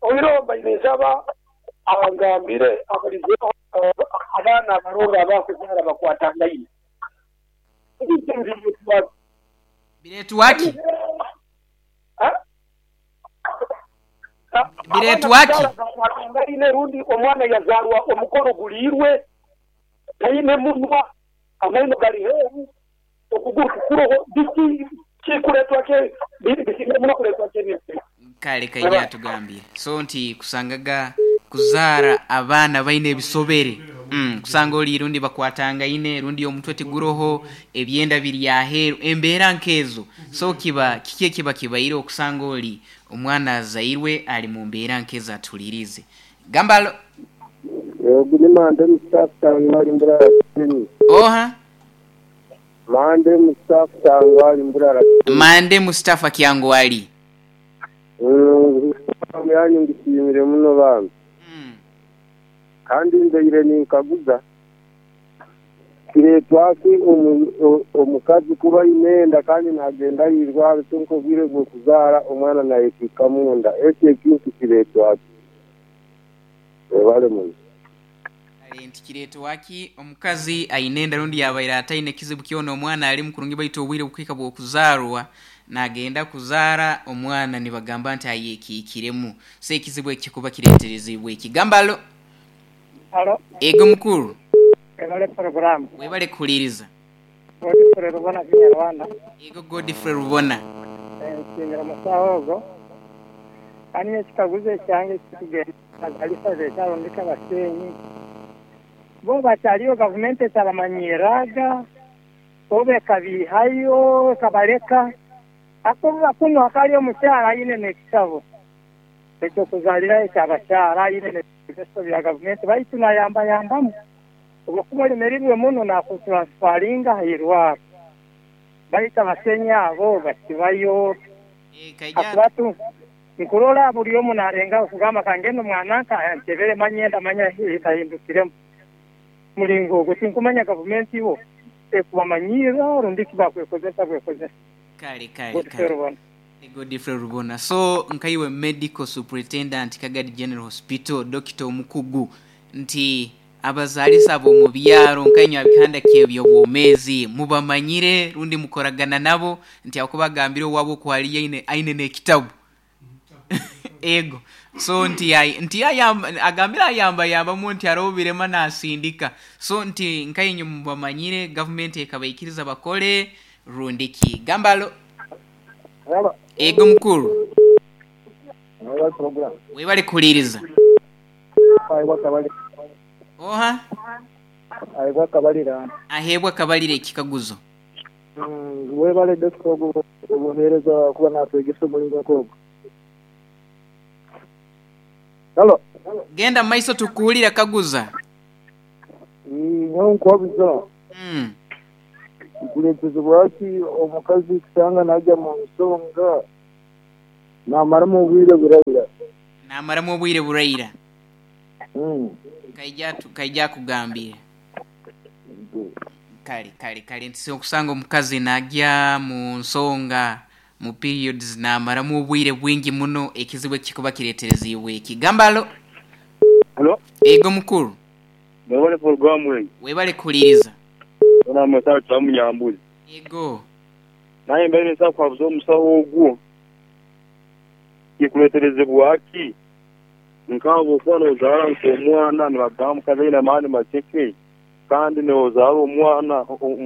Oiro mbaire nsaba abangambire abalize abaana abalongo abakuzaala bakwatangaine. Biretu waki? Biretu waki? Bakwatangaine rundi omwana yazarwa omukono guliirwe taine munwa amaino gali heru okuguru kukuroho biki kikuletwa ke bisinga muno kuletwa ke biki. Kale kaija atugambire. So nti kusangaga kuzaara abaana baine ebisobere. Mm, kusanga oli rundi bakwatangaine rundi omutwe tiguroho ebyenda biri aheru embeera nkezo. So kiba kiki kiba kibaire okusanga oli omwana azairwe ali mu mbeera nkezo atulirize. Gambalo. Yego ni Mande Mustafa Tangwali Mburara. Oha. Mande Mustafa Tangwali Mburara. Mande Mustafa Kyangwali. Mm, yanyu ngishimire muno bambi. Mm. Kandi nzeire ninkaguza kiretwaki omukazi kuba inenda kandi nagenda yirwara tunkobwire bwo kuzaara omwana nayekika munda ekyo ekintu kiretwaki webale muno. Nti kiretwaki omukazi ainenda rundi yabaire ataine kizibu kyona omwana ali mukurungi baitu obwire bukwika bw'okuzaarwa nagenda kuzaara omwana nibagamba nti ayekiikiremu. So ekizibu ekikuba kireeterezebwa ekigambalo. Alo. Ego mukuru. Webale programu. Webale kuhuliriza. Godfrey Rubona Kinyarwanda. Ego Godfrey Rubona. Nshimira musawo ogwo. Kandi ekikaguzo ekyange kikugenda azalisa zekyarondeka abasenyi. Bo bakyaliyo gavumenti etabamanyiraga oba ekabihayo ekabaleka ako bakuno akali omukyala ayine n'ekitabo ekyokuzaalirayo ekyabakyala ayine n'ebigezo bya gavumenti baitu nayambayambamu obwokuba olemereirwe muno nakutransfaringa hairwaro baitu abasenyi abo bakibayo akubatu nkurola buli omu narenga okugamba kangenda omwana nka ntebere manyenda manya etahindukiremu mulingo ogwo tinkumanya gavumenti bo ekubamanyira rundi kibakwekozesa bwekozesa. Kale kale Godfrey kale. Rubona. Godfrey Rubona. So nkaiwe medical superintendent Kagadi General Hospital Doctor Omukugu nti abazaalisa abo mu byaro nkainywa abihanda ky'ebyobwomeezi mubamanyire rundi mukoragana nabo nti akubagambire owabo kwali aine aine n'ekitabu. Ego. So nti ai nti ayamba agambira ayamba yambamu nti arobirema nasindika. So nti nkainywa mubamanyire government ekabaikiriza bakole rundiki. Gambalo. Halo. Ego mukuru. Webale program. Webale kuliriza. Aibwa kabali. Oha. Aibwa kabalira. Ahebwa kabalire ekikaguzo. Mm, webale dokita ogwo obuheereza kuba natwegesa omulingo nk'ogwo. Halo. Genda maiso tukuwulira kaguza. Mm, nyowe nkwabuza. Mm. Kuleetezebwa ki omukazi kusanga najya mu nsonga namaramu obwire buraira. Namaramu obwire buraira. Mm. Kaija tu kaija kugambira. Kale kale kale nti okusanga omukazi najya mu nsonga mu periods namaramu obwire bwingi muno ekizibu ekikuba kireetereziibwe eki. Gambalo. Hello. Ego mukuru. Mwebale programu eyi. Webale kuhuliriza. Ona musawo twamunyambuzi. Ego. Naye mbere nsa kwabuza omusawo ogwo. Kikuleeterezebwa ki? Nkabo okuba n'ozaara nk'omwana nibagamba mukazi aine amaani makeke kandi n'ozaara omwana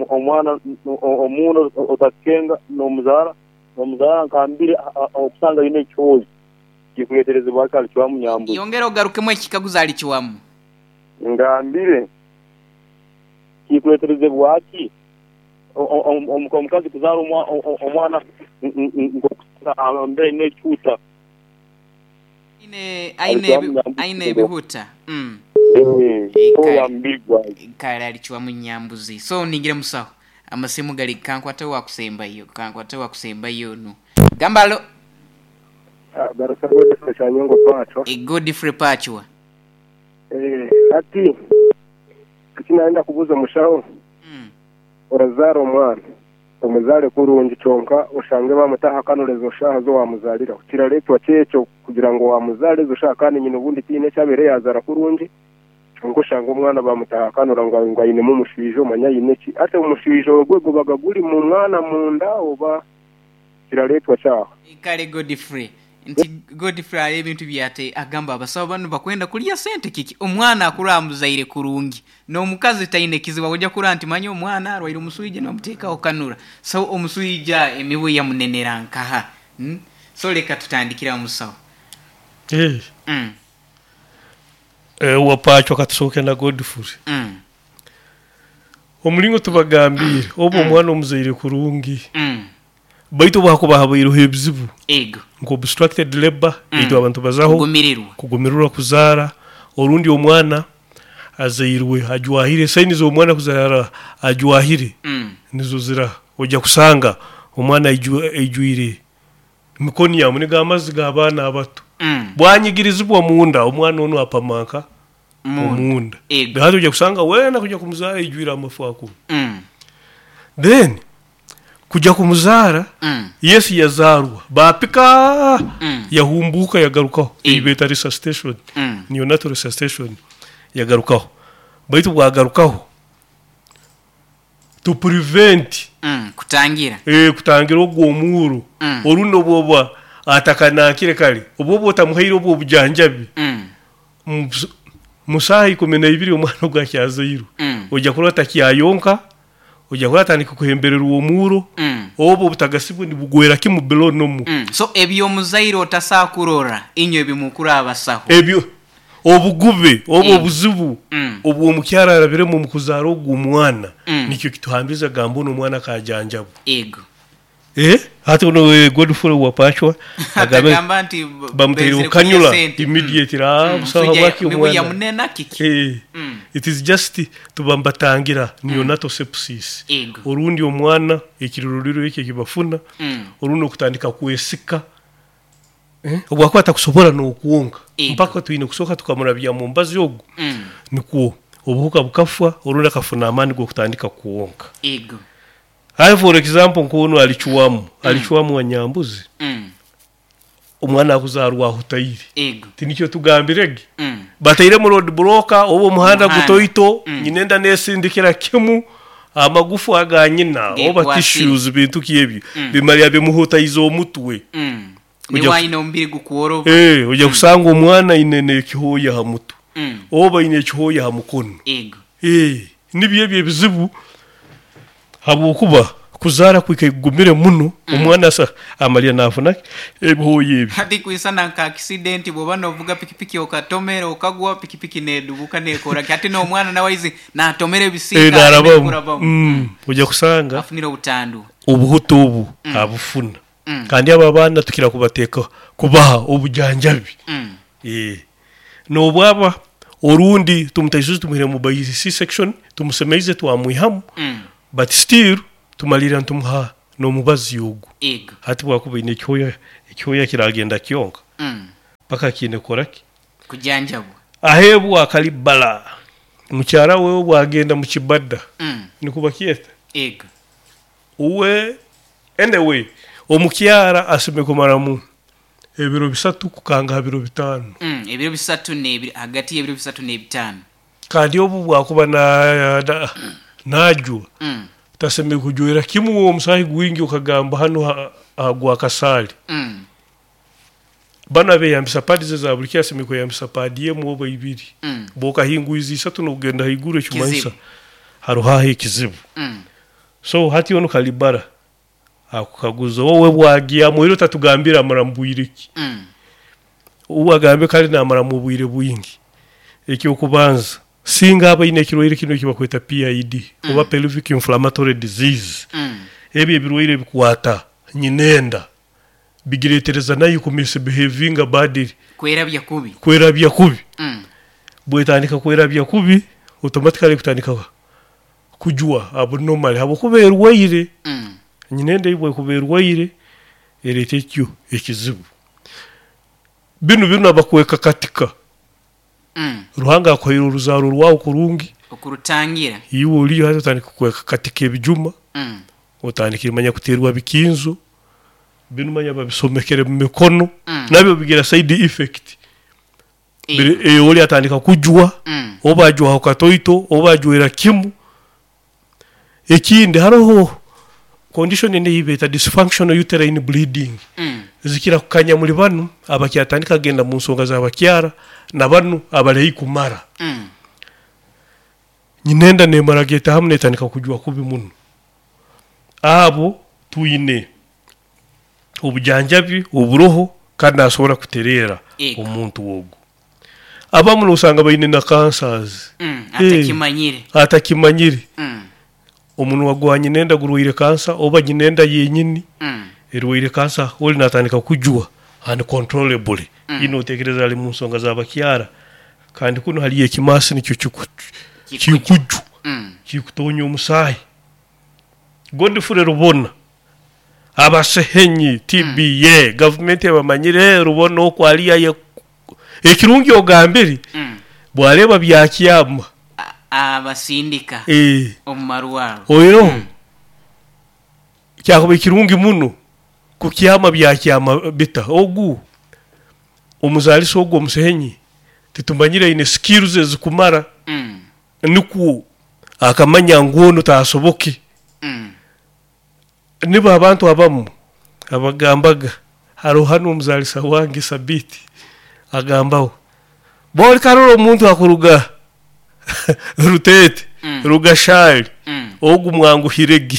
omwana omuntu otakenga n'omuzaara n'omuzaara nkambire okusanga aine ekyozi. Kikuleeterezebwa ki ali kiwamu? Yongera ogarukemu ekikaguzo ali kiwamu. Ngambire kikuleeterezebwa ki omukazi kuzaara omwana mbere aine ekihuta. Aine aine aine ebihuta. Mm. Kale alikiwamu nyambuzi. So ningire musawo. Amasimu gali kankwate wa kusembayo, kankwate wa kusembayo no. Gambalo. Ah, barasa Godfrey Chanyongo Pacho. E Godfrey Pacho. Eh, ati kinaenda kubuza mushaho. Mm. Orazara omwana. Omuzale kurungi kyonka oshange bamutaha kanurezo shaha zo wamuzalira. Kiraletwa kyekyo kugira ngo wamuzale zo shaha kandi nyina ubundi tine cyabere yazara kurungi. Kyonka oshange omwana bamutaha kanura ngo ngo ayine mu mushijo manya yine ki. Ate umushijo ogwego bagaguli mu mwana munda oba kiraletwa cyaho. Kale Godfrey. Nti Godfrey ali ebintu byate agamba abasawo bano bakwenda kulya sente kiki omwana akura amuzaire kurungi n'omukazi taine kizibu ojja kura nti manyi omwana arwaire omuswija n'omuteekawo kanura so omuswija emibu yamunenera nkaha hmm? So leka tutandikira omusawo. Eh. Mm. Eh wapacho katusooke na Godfrey. Mm. Omulingo tubagambire obo Mm. omwana omuzaire kurungi. Mm. Baitu bakuba habaireho ebizibu. Ego. Nko obstructed labor Mm. eitu abantu bazaho kugumirirwa kugumirirwa kuzaara orundi omwana azairwe ajwahire saini z'omwana kuzaara ajwahire Mm. nizo zira ojja kusanga omwana aijwire mikono yamu niga amazzi g'abaana abato Mm. bwanyigirizibwa munda omwana ono apamanka Munda. omunda Ego. hati ojja kusanga wena kujja kumuzaara aijwire amafu ako Mm. then kujja kumuzaara Mm. Yesu yazaarwa bapika Mm. yahumbuka yagarukaho Mm. ibeta resuscitation Mm. neonatal resuscitation yagarukaho baitu bwagarukaho to prevent Mm. Kutangira. eh kutangira ogwo omuuro Mm. oruno bwoba atakanakire kale obwo otamuhaire obwo obujanjabi Mm. Mu- musaha ikumi na ibiri omwana ogwakyazairwe Mm. ojja kurora takyayonka ojja kurora atandika kuhembererwa omuuro Mm. obwo obutagasibwe nibugwera kimu below normal. Mm. So ebyomuzaire otasakurora inyo ebimukura abasaho. Ebyo obugube obwo Mm. obuzibu Mm. obwo omukyara arabiremu mu kuzaara ogwo omwana Mm. nikyo kituhambiza gamba ono omwana kajanjabu. Ego. Eh hati ono eh, Godfrey wapachwa agambe Agamba nti bamuteire benzire okanyula kulya sente. immediately Mm. ah Mm. busaho Musujja bwaki mibu omwana yamunena kiki. Eh Mm. it is just tubambatangira neonatal sepsis. Ego. Orundi omwana ekiruriro ekyo kibafuna Mm. orundi okutandika kwesika eh obwakwata kusobora n'okuwonka Ego. mpaka twine kusooka tukamurabya mu mbazi ogwo Mm. nikwo obuhuka bukafwa orundi akafuna amaani g'okutandika kuwonka. Ego. Hai for example nkono alichuwamu alichuwamu wa nyambuzi Mm. omwana akuzaarwa ahutaire Ego. tinikyo tugambirege Mm. bataire mu road blocker oba omuhanda Omuhanda. gutoito Mm. nyinenda nesindikira kimu amagufu aga nyina oba Gekwasire. tissues bintu kyebyo Mm. bimalya bimuhutaiza omutwe. Mm. Ojja- Niwe aine omubiri gukworoba. Eh ojja kusanga omwana aine n'ekihooya ha mutwe Mm. oba aine ekihooya ha mukono. Ego. Eh nibyo ebyo ebizibu habwokuba kuzaara kwikagumire muno omwana asa amalya nafuna ebihooya ebyo. Hati kuisana nka accident bwoba novuga pikipiki okatomera okagwa pikipiki nedubuka nekora hati n'omwana nawe aizi natomera Eh, ebisiika narabamu nekurabamu. Mm, ojja kusanga Afunire obutandu. obuhuta obu abufuna Mm. kandi abo abaana tukira kubateeka kubaha obujanjabi. Mm. Eh n'obwaba Orundi tumutaisuze tumuhire mu by C section, tumusemeize twamwihamu, Mm. but still tumalira ntumuha n'omubazi ogu. Ego. Hati bwakuba ine ekyoya, ekyoya kiragenda kyonka Mm. paka kiine koraki Kujanjabwa. Ahebwa akalibala mukyara wewe bwagenda mu kibada Mm. nikuba kyeta Ego. uwe. Anyway, omukyara asime kumaramu ebiro bisatu kukanga biro bitano. Mm. Ebiro bisatu n'ebiri, hagati y'ebiro bisatu n'ebitaano. Kandi obu bwakuba na, na, najwa Mm. taseme kujwera kimu omusahi gwingi okagamba hano ha- hagwa kasali. Mm. Bana beyambisa padi ze za buli kyaseme kweyambisa padi yemu oba ibiri. Mm. Bokahingwiza isatu n'okugenda haiguru ekimanyisa Kizibu. haruhaho ekizibu. Mm. So hati ono kalibara akukaguza wowe bwagyamu era otatugambira amara mu bwire ki. Mm. Uwe agambe kale namara mu bwire bwingi. Ekyokubanza singa abaine ekirwaire kino ekibakweta P I D Mm. oba pelvic inflammatory disease. Mm. Ebyo ebirwaire bikwata nyinenda bigiretereza nayo ku misbehavinga badly, kwerabya kubi. Kwerabya kubi. Mm. Bwetandika kwerabya kubi automatically kutandika kujwa abnormal habwokuba erwaire. Mm. Nyinenda ibwe kuba erwaire ereta ekyo ekizibu. Binu binu abakweka katika. Mm. Ruhanga akohera oruzaro rwawe kurungi okurutangira. Iwe oliyo hati otandika kweka katika ebijuma. Mm. Otandika imanya kuterwa bikinzo binu manya babisomekere mu mikono. Mm. Nabyo bigira side effect. E. Biri- eh, oli atandika kujwa. Mm. Oba ajwa katoito oba ajwera kimu. Ekindi hariho condition ene yibeta dysfunctional uterine bleeding. Mm. Zikira kukanya muri banu abakyatandika genda mu nsonga z'abakyara na banu abalehi kumara. Mm. Nyinenda nemara geta hamwe netandika kujwa kubi muno. Abo tuyine obujanjabi oburoho kandi asobora kuterera Ego. omuntu wogo. Abamu usanga bayine na cancers. Mm. Eh. Atakimanyire. Atakimanyire. Mm. Omunwa gwa nyinenda gurwaire cancer oba nyinenda yenyini Mm. erwaire cancer oli natandika kujwa uncontrollably. Mm. Ino otekereza ali mu nsonga z'abakyara kandi kuno hali ekimasi nikyo kiku- Kikuju. kikuju. Mm. Kikutonya omusayi. Godfrey Rubona abasehenyi T B A Mm. government ebamanyire Rubona okwaliya ye ekirungi ogambiri Mm. bwareba byakyama Abasindika eh omumarwaro. Oiro Mm. kyakuba ekirungi muno kukyama byakyama bita ogu omuzalisa ogu omusehenyi titumanyire ine skills ezikumara. Mm. Nikwo akamanya ngu ono tasoboke. Mm. Niba abantu abamu abagambaga hariho hano omuzalisa wange Sabiti agambaho boli karora omuntu akuruga Rutete. Mm. Rugashali. Mm. Ogu mwanguhirege.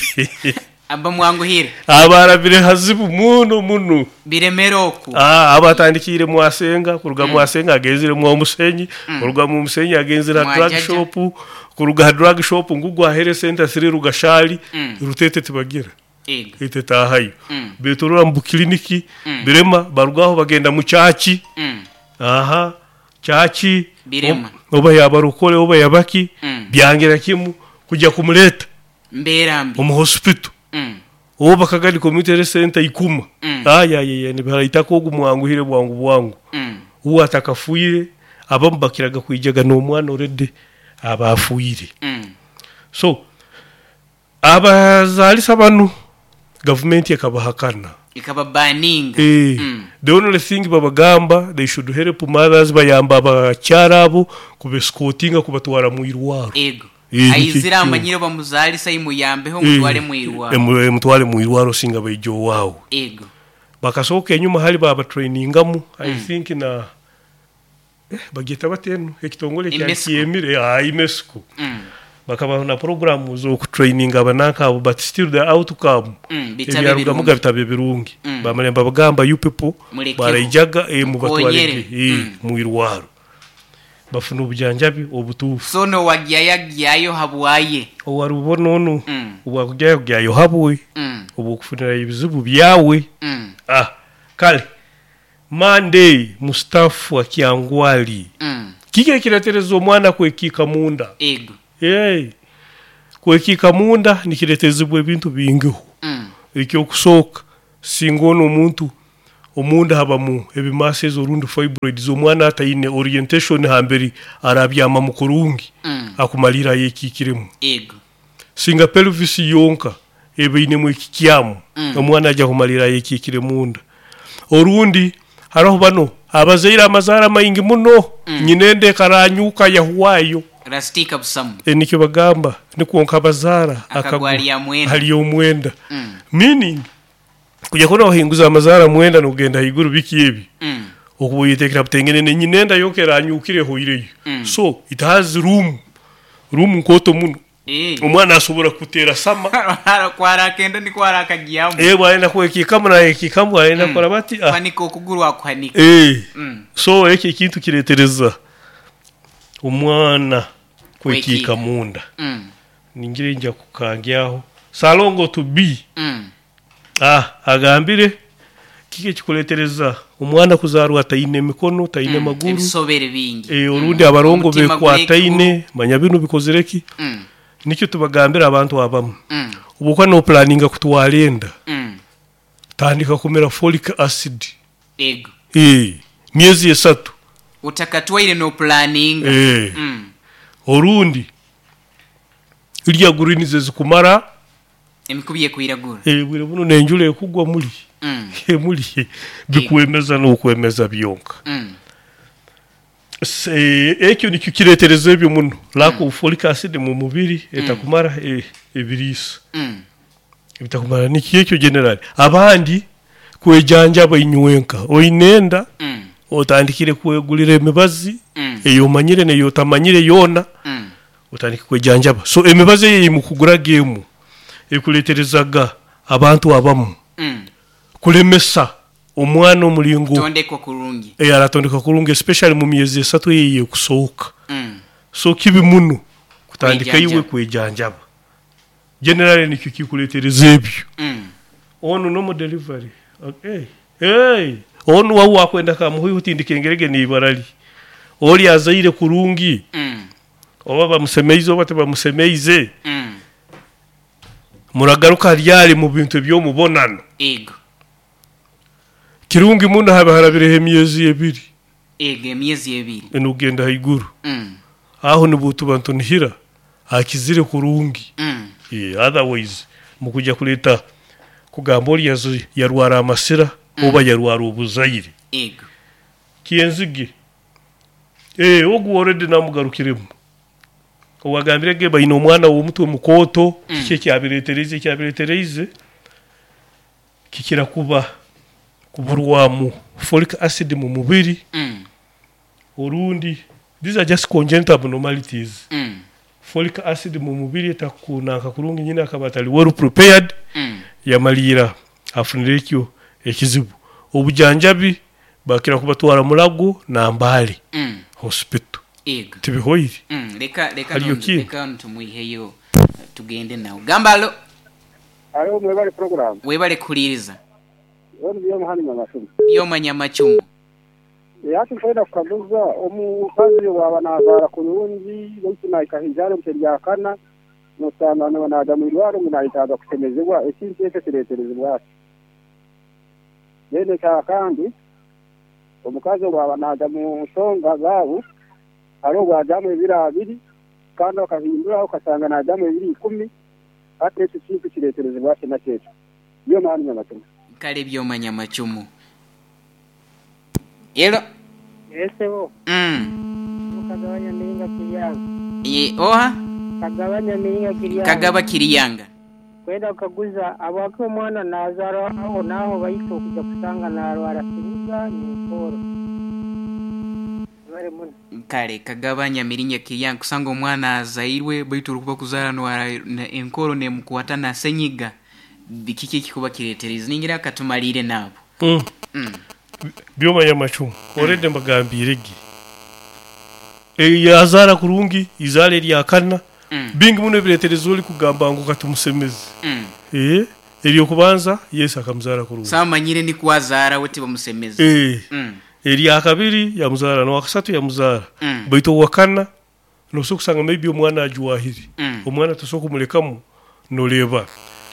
Aba mwanguhire. Abarabire hazibu muno muno. Biremera oku. Ah, abatandikire mwasenga kuruga Mm. mwasenga agenzire mwa musenyi. Mm. Kuruga mu musenyi agenzire Mwa drug jaja. shop, kuruga drug shop ngugu ahere center siri Rugashali. Mm. Rutete tibagira. Ego. Itetahayo. Mm. Betorora mu kliniki. Mm. Birema barugaho bagenda mu chachi. Mm. Aha, chachi. Birema. Oba yabarukole oba yabaki. Mm. Byangira kimu kujya kumuleta Mbera mbi. omu hospital. Mm. Oba Kagadi community health center ikuma. Mm. Aya ye ni baraitako ogu mwanguhire bwangu bwangu. Mm. Uwa atakafuire abamubakiraga kwijaga n'omwana already abafuire. Mm. So abazalisa banu government ekabahakana. Ikababaninga. Eh, Mm. the only thing babagamba they should help mothers bayamba abakyara abo kubescortinga kubatwara mu irwaro. Ego. Eh, Aizira nikyo. amanyire bamuzalisa imuyambeho mutware mu irwaro. Eh, mutware mu irwaro singa baijo wawo. Ego. Bakasoka enyuma hali baba trainingamu I Mm. think na eh, bageta batenu ekitongole kya Imesco. Kiemire ah Imesco. Mm. Bakaba na program zo kutraining abananka abo but still the outcome Mm, bitabe ebyarugamu birungi. bitabe birungi. Mm. Bamalemba bagamba you people Mulekeho. baraijaga eh, mubatware Mukonyere. eh, Mm. mu irwaro. Bafuna obujanjabi obutuufu. So no wagyayo habwaye. Owarubona ono Mm. obwakugyayo gyayo habwe. Mm. Obukufunira ebizibu byawe. Mm. Ah, kale Monday Mustafa Kyangwali. Mm. Kiki ekiretereza omwana kwekiika munda? Ego. Hey. Kwekiika munda nikiretezebwa ebintu bingiho. Mm. Ekyokusooka singa ono omuntu omunda habamu ebimases orundi fibroids, omwana ataine orientation hamberi arabyama mukurungi, Mm. akumalira yekiikiremu. Ego. Singa pelvis yonka ebeinemu ekikyamu, Mm. omwana ajja kumalira yekiikire munda. Orundi hariho bano abazaire amazaara maingi muno, Mm. nyinende ekaranyuka yahuwayo. Rastika busamu. E, nikyo bagamba nikwo nkabazaara Akagwa hali mwenda. hali omwenda. Mm. Meaning kujya kubona wahinguza amazaara mwenda nogenda haiguru biki ebi, Mm. okuba oyetekera butengene ne nyinenda yonka eranyukire ehoireyo. Mm. So it has room, room nkoto muno. Eh. Omwana asobora kutera sama. Kwarakenda ni kwarakagiyamu. Eh, bwaenda kwekikamu nayekikamu bwaenda Mm. kora bati ah. Kwanika okuguru akuhanika. Eh. Mm. So eki ekintu kiretereza omwana kwekika Kwekika. munda. Mm. Ningire nja kukangyaho salongo to be. Mm. Ah, agambire kiki ekikuletereza omwana kuzarwa ataine emikono, taine Mm. maguru, Ebisobere bingi. eh, orundi abarongo Omutima bekwataine, manya binu bikozereki. Mm. Nikyo tubagambira abantu abamu, Mm. obukuba noplaninga kutwara enda, Mm. tandika kumira folic acid. Ego. Eh, myezi esatu. Utakatwaire no planning. Eh. Mm. Orundi lya greens ezikumara emikubi ekwiragura. Eh, bwire buno nenjula ekugwa muli. Mm. Muli bikwemeza n'okwemeza byonka. Mm. Se ekyo nikyo kiretereza ebyo muno. Lack of folic acid mu mubiri etakumara e, ebiriisa. Mm. Ebitakumara nikyo ekyo general. Abandi kwejanjaba inywenka oinenda, Mm. otandikire kwegulira emibazi Mm. eyo omanyire neyo otamanyire yona, Mm. otandike kwejanjaba. So emibazi eyo mukugura gemu ekuleterezaga abantu abamu Mm. kulemesa omwana omulingo Tondekwa kurungi. Eh, aratondeka kurungi especially mu myezi esatu eyo ekusohoka. Mm. So kibi muno kutandika Kwejanjaba. iwe kwejanjaba. Generally nikyo kikuletereza ebyo. Mm. Ono no delivery. Okay. Hey, ono wawu wakwenda kamuhuyu utindika engerege ni ibarali. Oli azaire kurungi. Mm. Oba bamusemeize oba tebamusemeize. Mm. Muragaruka ryari mu bintu eby'omubonano. Ego. Kirungi muno haba harabireho emyezi ebiri. Ego emyezi ebiri. Enugenda haiguru. Mm. Aho nibutu bantu nihira akizire kurungi. Mm. Yeah, otherwise mukujja kuleta kugamba oli yazi yarwara amasira, Mm. oba yarwara obuzaire. Ego. Kienzige. Eh, ogu already namugarukiremu. Owagambire ge bayina omwana w'omutwe mukoto, Mm. kiki ekyabireetereze ekyabireetereize kikira kuba kuburwamu folic acid mu mubiri. Mm. Orundi these are just congenital abnormalities. Mm. Folic acid mu mubiri etakunanka kurungi, nyina akaba atali well prepared, Mm. yamalira afunire ekyo ekizibu. Obujanjabi bakira kubatwara Mulago na Mbale Mm. hospital. Ego. Tibihoire. Mm. Leka leka Haliyo nondu- ki? leka ntumuiheyo tugende nawe. Gambalo Alo mwebale program. webale kuliriza. Wenu byo muhani nyamacumu. Byomanya macumu. Yati nkwenda kukaguza omukazi waba nazaara kurungi baitu naikahijara omuteryakana nosanga naga mu irwaro ngu nayetaaga kusemezebwa ekintu ekyo kireeterezebwa ati. Then ekya kandi omukazi waba naga mu nsonga zaabu hariho obwajamu ebiro abiri kandi akahinduraho okasanga najamu ebiro ikumi, hati ekyo kintu kireeterezebwa ati nakyo ekyo. Byomanya nyamacumu. Kale byomanya macumu. Yelo. Esebo. Mm. Kagabanya miringa kiriyanga. Ye oha? Kagabanya miringa kiriyanga. Kagaba kiriyanga. Kwenda kukaguza abaki omwana nazarwa aho naho baitu okujja kusanga narwara siriga n'enkoro. Bari muno. Kale kagabanya miringa kiriyanga kusanga omwana azairwe baitu orukuba kuzara nwara enkoro nemukwata na senyiga. Bikiki ekikuba kireetereza ningira katumalire nabo. Mm. Mm. Byomanya macumu. Already mbagambire gi. E yazara kurungi izale lyakana. Mm. Bingi muno ebireetereza oli kugamba ngu katumusemeze. Mm. Eh, eryo kubanza Yesu akamuzara kurungi. Samanyire ni kwazara we tibamusemeze. Eh. Mm. Erya kabiri yamuzaara, n'owakasatu yamuzaara. Mm. Baitu owakana nosobola kusanga maybe omwana ajwahire. Mm. Omwana tosobola kumulekamu noreeba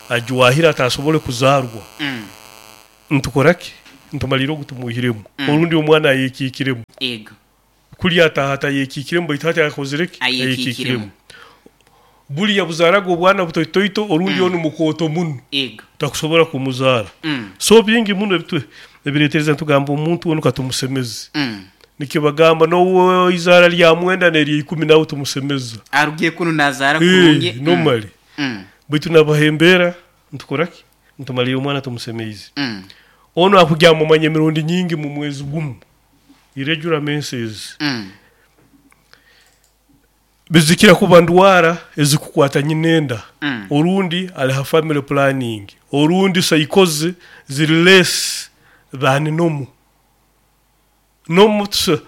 ajwahire atasobole kuzaarwa. Mm. Ntukoraki? Ntumalire ogu tumuihiremu. Mm. Orundi omwana ayekiikiremu. Ego. Kuli ataha atayekiikiremu baitu hati akozire ki? Ayekiikiremu. Buli yabuzaaraga obwana butoitoito orundi Mm. onu mukooto muno. Ego. Takusobora kumuzaara. Mm. So bingi muno ebitu ebireetereza ntugamba omuntu onu katumusemeze. Mm. Nikyo bagamba n'owo izaara lya mwenda n'erya ikumi nawe tumusemeza. Arugiye kunu nazaara Eh, kurungi. Mm. normally. Mm. Baitu nabahembera ntukoraki? Ntumalire omwana tumusemeize. Mm. Ono akujya mumanya emirundi nyingi mu mwezi gumu. Irregular menses. Mm. Bizikira kuba ndwara ezikukwata nyinenda. Mm. Orundi aliha family planning. Orundi psychosis ziri less than normal. Normal tusa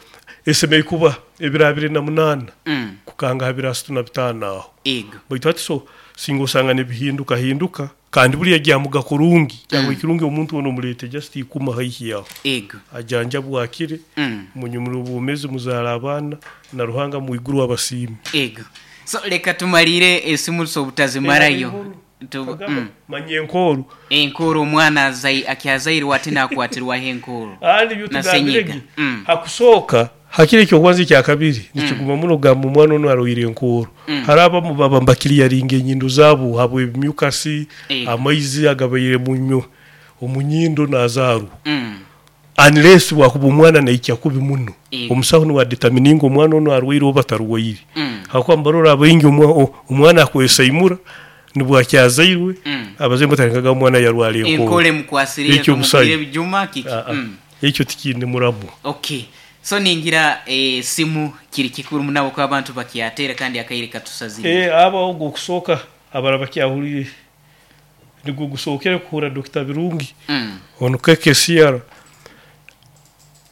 esemei kuba ebiro abiri na munaana Mm. kukanga habiri asatu na bitaano aho. Ego. Baitu hati so singa osanga nibihinduka hinduka kandi buriya gyamuga kurungi cyangwa ikirungi omuntu ono omulete just ikuma haihi yaho Ego. ajanja bwakire Mm. munyumira obwomezi muzaara abaana na Ruhanga mu iguru abasiime. Ego. So leka tumalire esimu so obutazimarayo. Tu, mm. Manye enkoru Enkoro omwana azai akyazairwe ate nakwatirwaho enkoro. andi byo Na senyiga. tugambiregi Mm. hakusooka hakiri ekyokwanza ekyakabiri nikiguma muno kugamba omwana ono arwaire enkooro. Mm. Hari abamu baba mbakiriyaringa enyindo zaabo habw'ebimyukasi Ego. amaizi agabaire munyo omunyindo nazaarwa. Mm. Unless wakuba omwana naikya kubi muno. Ego. Omusaho niwe adetermininga omwana ono arwaire oba tarwaire. Mm. Hakuba mbarora abaingi omwa- o- omwana akwesaimura nibwo akyazairwe Mm. abazaire batangaga omwana yarwara Enkoro enkooro. emukwasire Ekyo omusai. ebijuma kiki. Ah, ah. Mm. Ekyo tikiine muramu. Okay. So ningira eh, simu kiri kikuru munabo ko abantu bakyatera kandi akaire katusazire. Eh, aba ogwo okusooka abara bakyahurire nigwo gusookere kuhura Doctor Birungi Mm. ono K K C R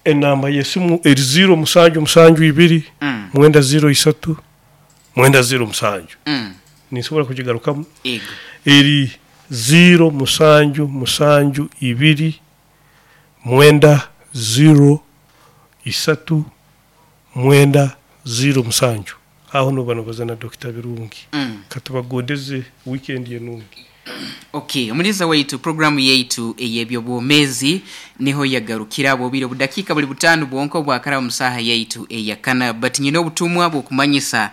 enamba y'esimu eri ziro musanju musanju ibiri Mm. mwenda ziro isatu mwenda ziro musanju. Mm. Ninsobola kugigarukamu. Ego. Eri ziro musanju musanju ibiri mwenda ziro isatu mwenda ziro musanju. Aho noba nobaza na Doctor Birungi. Mm. Katubagondeze weekend yenungi. Okay, omuliza waitu programu yaitu ey'ebyobwomezi niho yagarukira bubiri obudakika buli butano bwonka obwakara mu saha yaitu eyakana, but nyina obutumwa bw'okumanyisa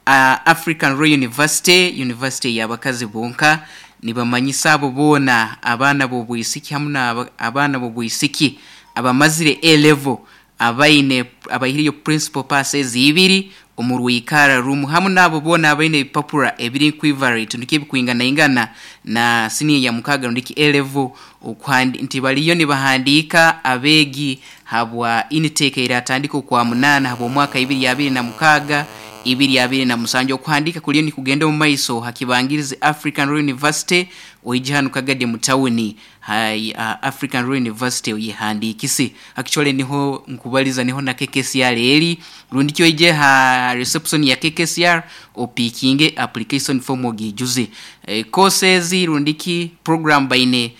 uh, African Royal University, University y'abakazi bonka nibamanyisa abo boona abaana b'obwisiki hamu na abaana b'obwisiki abamazire A level abaine abaihiriyo principal passes ibiri omu rwikara rumu hamu nabo boona abaine ebipapura ebiri equivalent ndiki ebikwingana ingana na senior ya mukaga ndiki A level okuhandi nti baliyo nibahandiika abeegi habwa intake iratandika okwa munana habwa omwaka ibiri abiri na mukaga ibiri abiri na musanju. Okuhandika kuliyo ni kugenda omu maiso hakibangirize African Royal University oije hanu Kagadi mu tawuni hai uh, African Royal University oyihandikise. Actually niho nkubaliza niho na K K C R eri rundi kyo ije ha reception ya K K C R opikinge application form ogijuze. E, courses rundiki program baine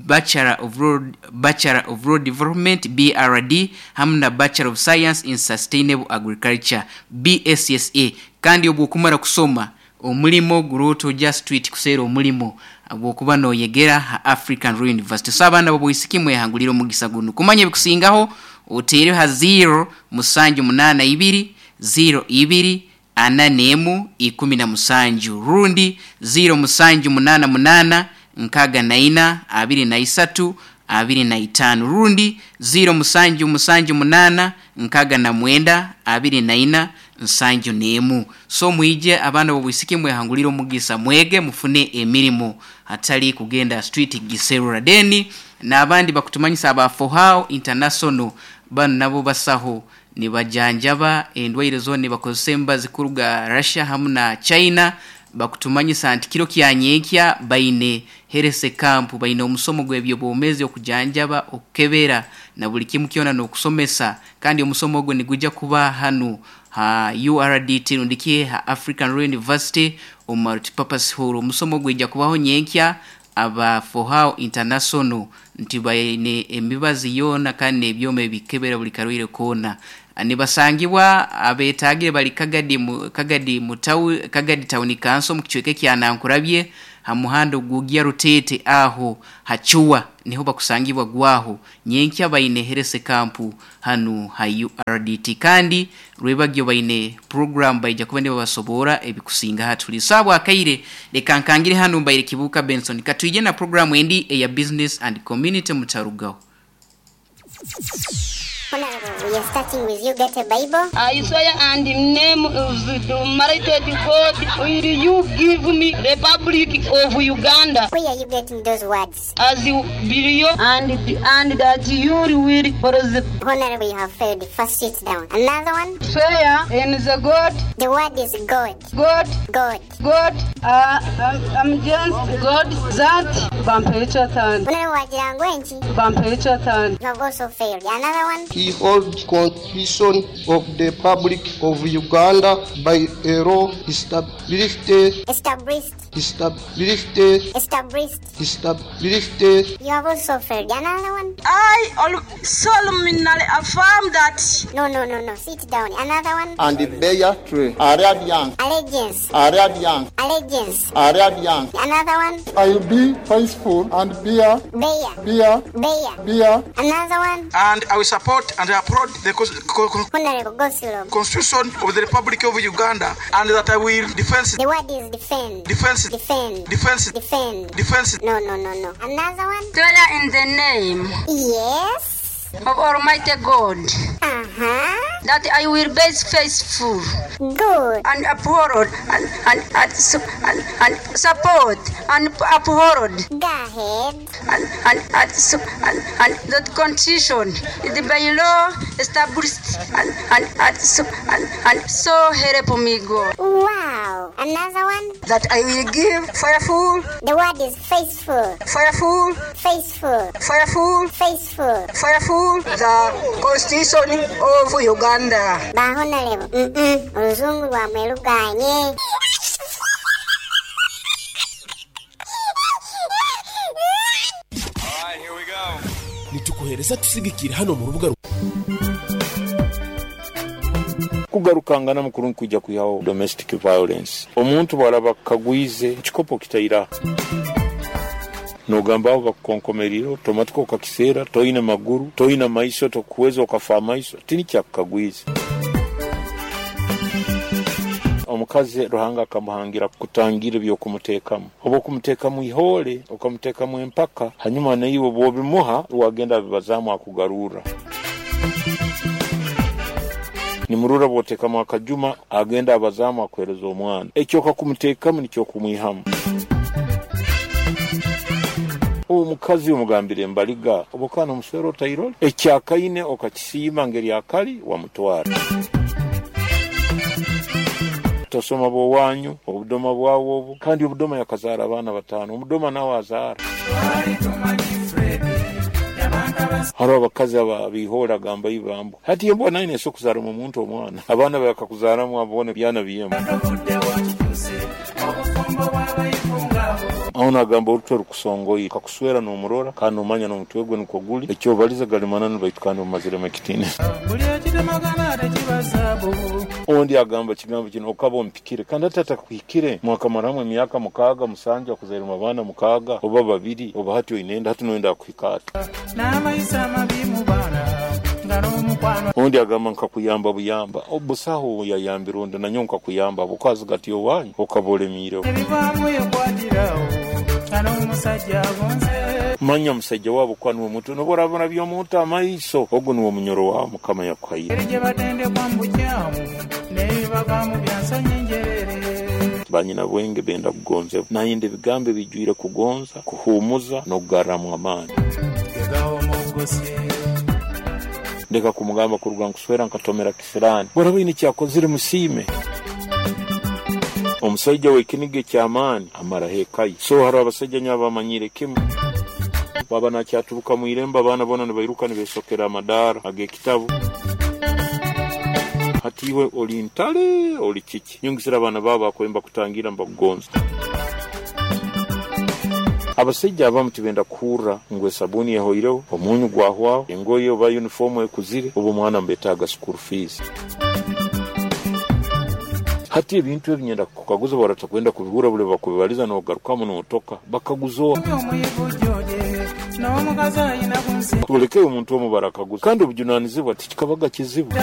Bachelor of Road, Bachelor of Road Development B R D hamwe na Bachelor of Science in Sustainable Agriculture B S S A. Kandi obwokumara kusoma omulimo guroto just tweet kusera omulimo obwokuba noyegera ha African Royal University. So abaana b'obwisiki mwehangulira omugisa guno kumanya ebikusingaho otere ha zero musanju munana ibiri zero ibiri ana nemu ikumi na musanju rundi zero musanju munana munana nkaga na ina abiri na isatu abiri na itano rundi zero musanju musanju munana nkaga na mwenda abiri na ina nsanju nemu. So mwije abaana b'obwisiki mwehangulira omugisa mwege mufune emirimu hatali kugenda street giserura deni. N'abandi bakutumanyisa aba Fohao International bano nabo basaho nibajanjaba endwaire zona nibakozesa embazi kuruga Russia hamu na China. Bakutumanyisa nti kiro kyanyenkya baine herese camp baine omusomo gw'ebyobwomezi okujanjaba okukebera na buli kimu kyona n'okusomesa. Kandi omusomo ogwo niguja kuba hanu ha U R D T rundikie ha African Royal University omu multipurpose hall. Omusomo gwija kubaho nyenkya aba Fohao International Nti baine emibazi yoona kandi n'ebyoma ebikebera buli karwaire koona. Nibasangibwa abetagire bali Kagadi mu, Kagadi mutawu Kagadi Town Council mu kicweka kya Nankurabye ha muhanda ogugya Rutete aho hachuwa niho bakusangibwa gwaho nyenkya baine herese kampu hanu ha U R D T kandi rwebagyo baine program baija kuba nibabasobora ebikusinga hatuli sabwa akaire leka nkangire hanu mbaire Kibuka Benson katuje na program endi eya business and community mutarugaho. Honorable, we are starting with you. Get a Bible. I swear and in the name of the Almighty God, will you give me Republic of Uganda? Where are you getting those words? As you believe and, and that you will prosper. Honorable, you have failed. First, sit down. Another one. Swear in the God. The word is God. God. God. God. Uh, I'm, I'm just God that. Bampecha. Honorable, wajirangu. Bampecha. You have also failed. Another one. He holds Constitution of the Republic of Uganda by a law established, established, established, established, established. You have also failed. Another one. I solemnly affirm that. No, no, no, no. Sit down. Another one. And the bear tree. Arabian. Allegiance. Arabian. Allegiance. Arabian. Another one. I will be faithful and bear. Bear. Bear. Bear. Bear. Another one. And I will support and applaud the Honorable Goslow. Constitution of the Republic of Uganda, and that I will defend. The word is defend. Defense. Defend. Defense. Defend. Defense. No, no, no, no. Another one. Swear in the name. Yes. Of Almighty God. Uh-huh. That I will be faithful. Good. And uphold and and and, and, and support and uphold. Go ahead. And and and, and, and the Constitution is by law established and and and, and, and so help me God. Wow. Another one. That I will give faithful. The word is faithful. Faithful. Faithful. Faithful. Faithful. Faithful. The Constitution of Uganda. Ba Honorable. Mm-mm. Oluzungu lwamwe luganye. Nitukuhereza tusigikira hano mu rubuga kugarukangana mukuru kujya kuyaho domestic violence. Omuntu bwalaba kagwize kikopo kitaira nogamba abo bakukonkomerire otomatiko okakiseera toine maguru toine maiso tokuweza okafa amaiso tini kyakukagwize. Omukazi Ruhanga akamuhangira kutangira ebyokumuteekamu oba okumuteekamu ihole okamuteekamu empaka hanyuma naiwe bwobimuha wagenda abibazaamu akugarura. Nimurura bwotekamu akajuma agenda abazamu akuhereza omwana ekyo okakumuteekamu nikyo okumwihamu. Omukazi omugambire embaliga obokana omuswero otairole ekyakaine okakisiima ngeri akali wamutwara. Tosoma bwowanyu obudoma bwawo obu kandi obudoma yakazaara abaana bataano omudoma nawe azaara. Hariho abakazi abihora gamba ibambo hati yembwa naine so kuzaara omuntu omwana abaana bakakuzaaramu abone byana biyemu. Aho nagamba orutwe rukusongoye kakuswera n'omurora kandi omanya n'omutwe gwe nukwo guli ekyo baliza galimananu baitu kandi omumaziremu ekitiini. Ondi agamba kigambo kino okaba ompikire kandi atata kuhikire mwakamaramu emyaka mukaaga musanju akuzairemu abaana mukaaga oba babiri oba hati oinenda hati noyenda kuhika ati. Ondi agamba nkakuyamba buyamba obusaho yayambira ondi nanyo nkakuyamba bukazi gati owanyu okaba olemiireho. Manya musajja wabo kwa niwe mutu noborabona by'omuntu amaiso ogu niwe munyoro wawe Mukama yakuhaire. Banyina bwenge benda kugonza nayende ebigambo ebijwire kugonza kuhumuza n'okugarramu amaani. Ndeka kumugamba kuruga nkuswera nkatomera kisirani boraba ine kyakozire musiime. Omusajja w'ekiniga eky'amaani amara hekayi so hariho abasajja nyo abamanyire kimu baba nakyaturuka mu irembo abaana bona nibairuka nibesokera amadaara ag'ekitabu. Hati iwe oli ntale oli kiki nyongisira abaana babo bakwemba kutangira mbakugonza. Abasaija abamu tibenda kuhurra ngu esabuni ehoireho, omunyu gwahwaho, engoye oba uniform ekuzire, oba omwana mbetaaga school fees. Hati ebintu ebi nyenda kukaguza baratakwenda kubihura buli bakubibaliza n'ogarukamu n'otoka bakaguza tuleke omuntu omu barakaguza, kandi obujunanizibwa tikikabaga kizibu.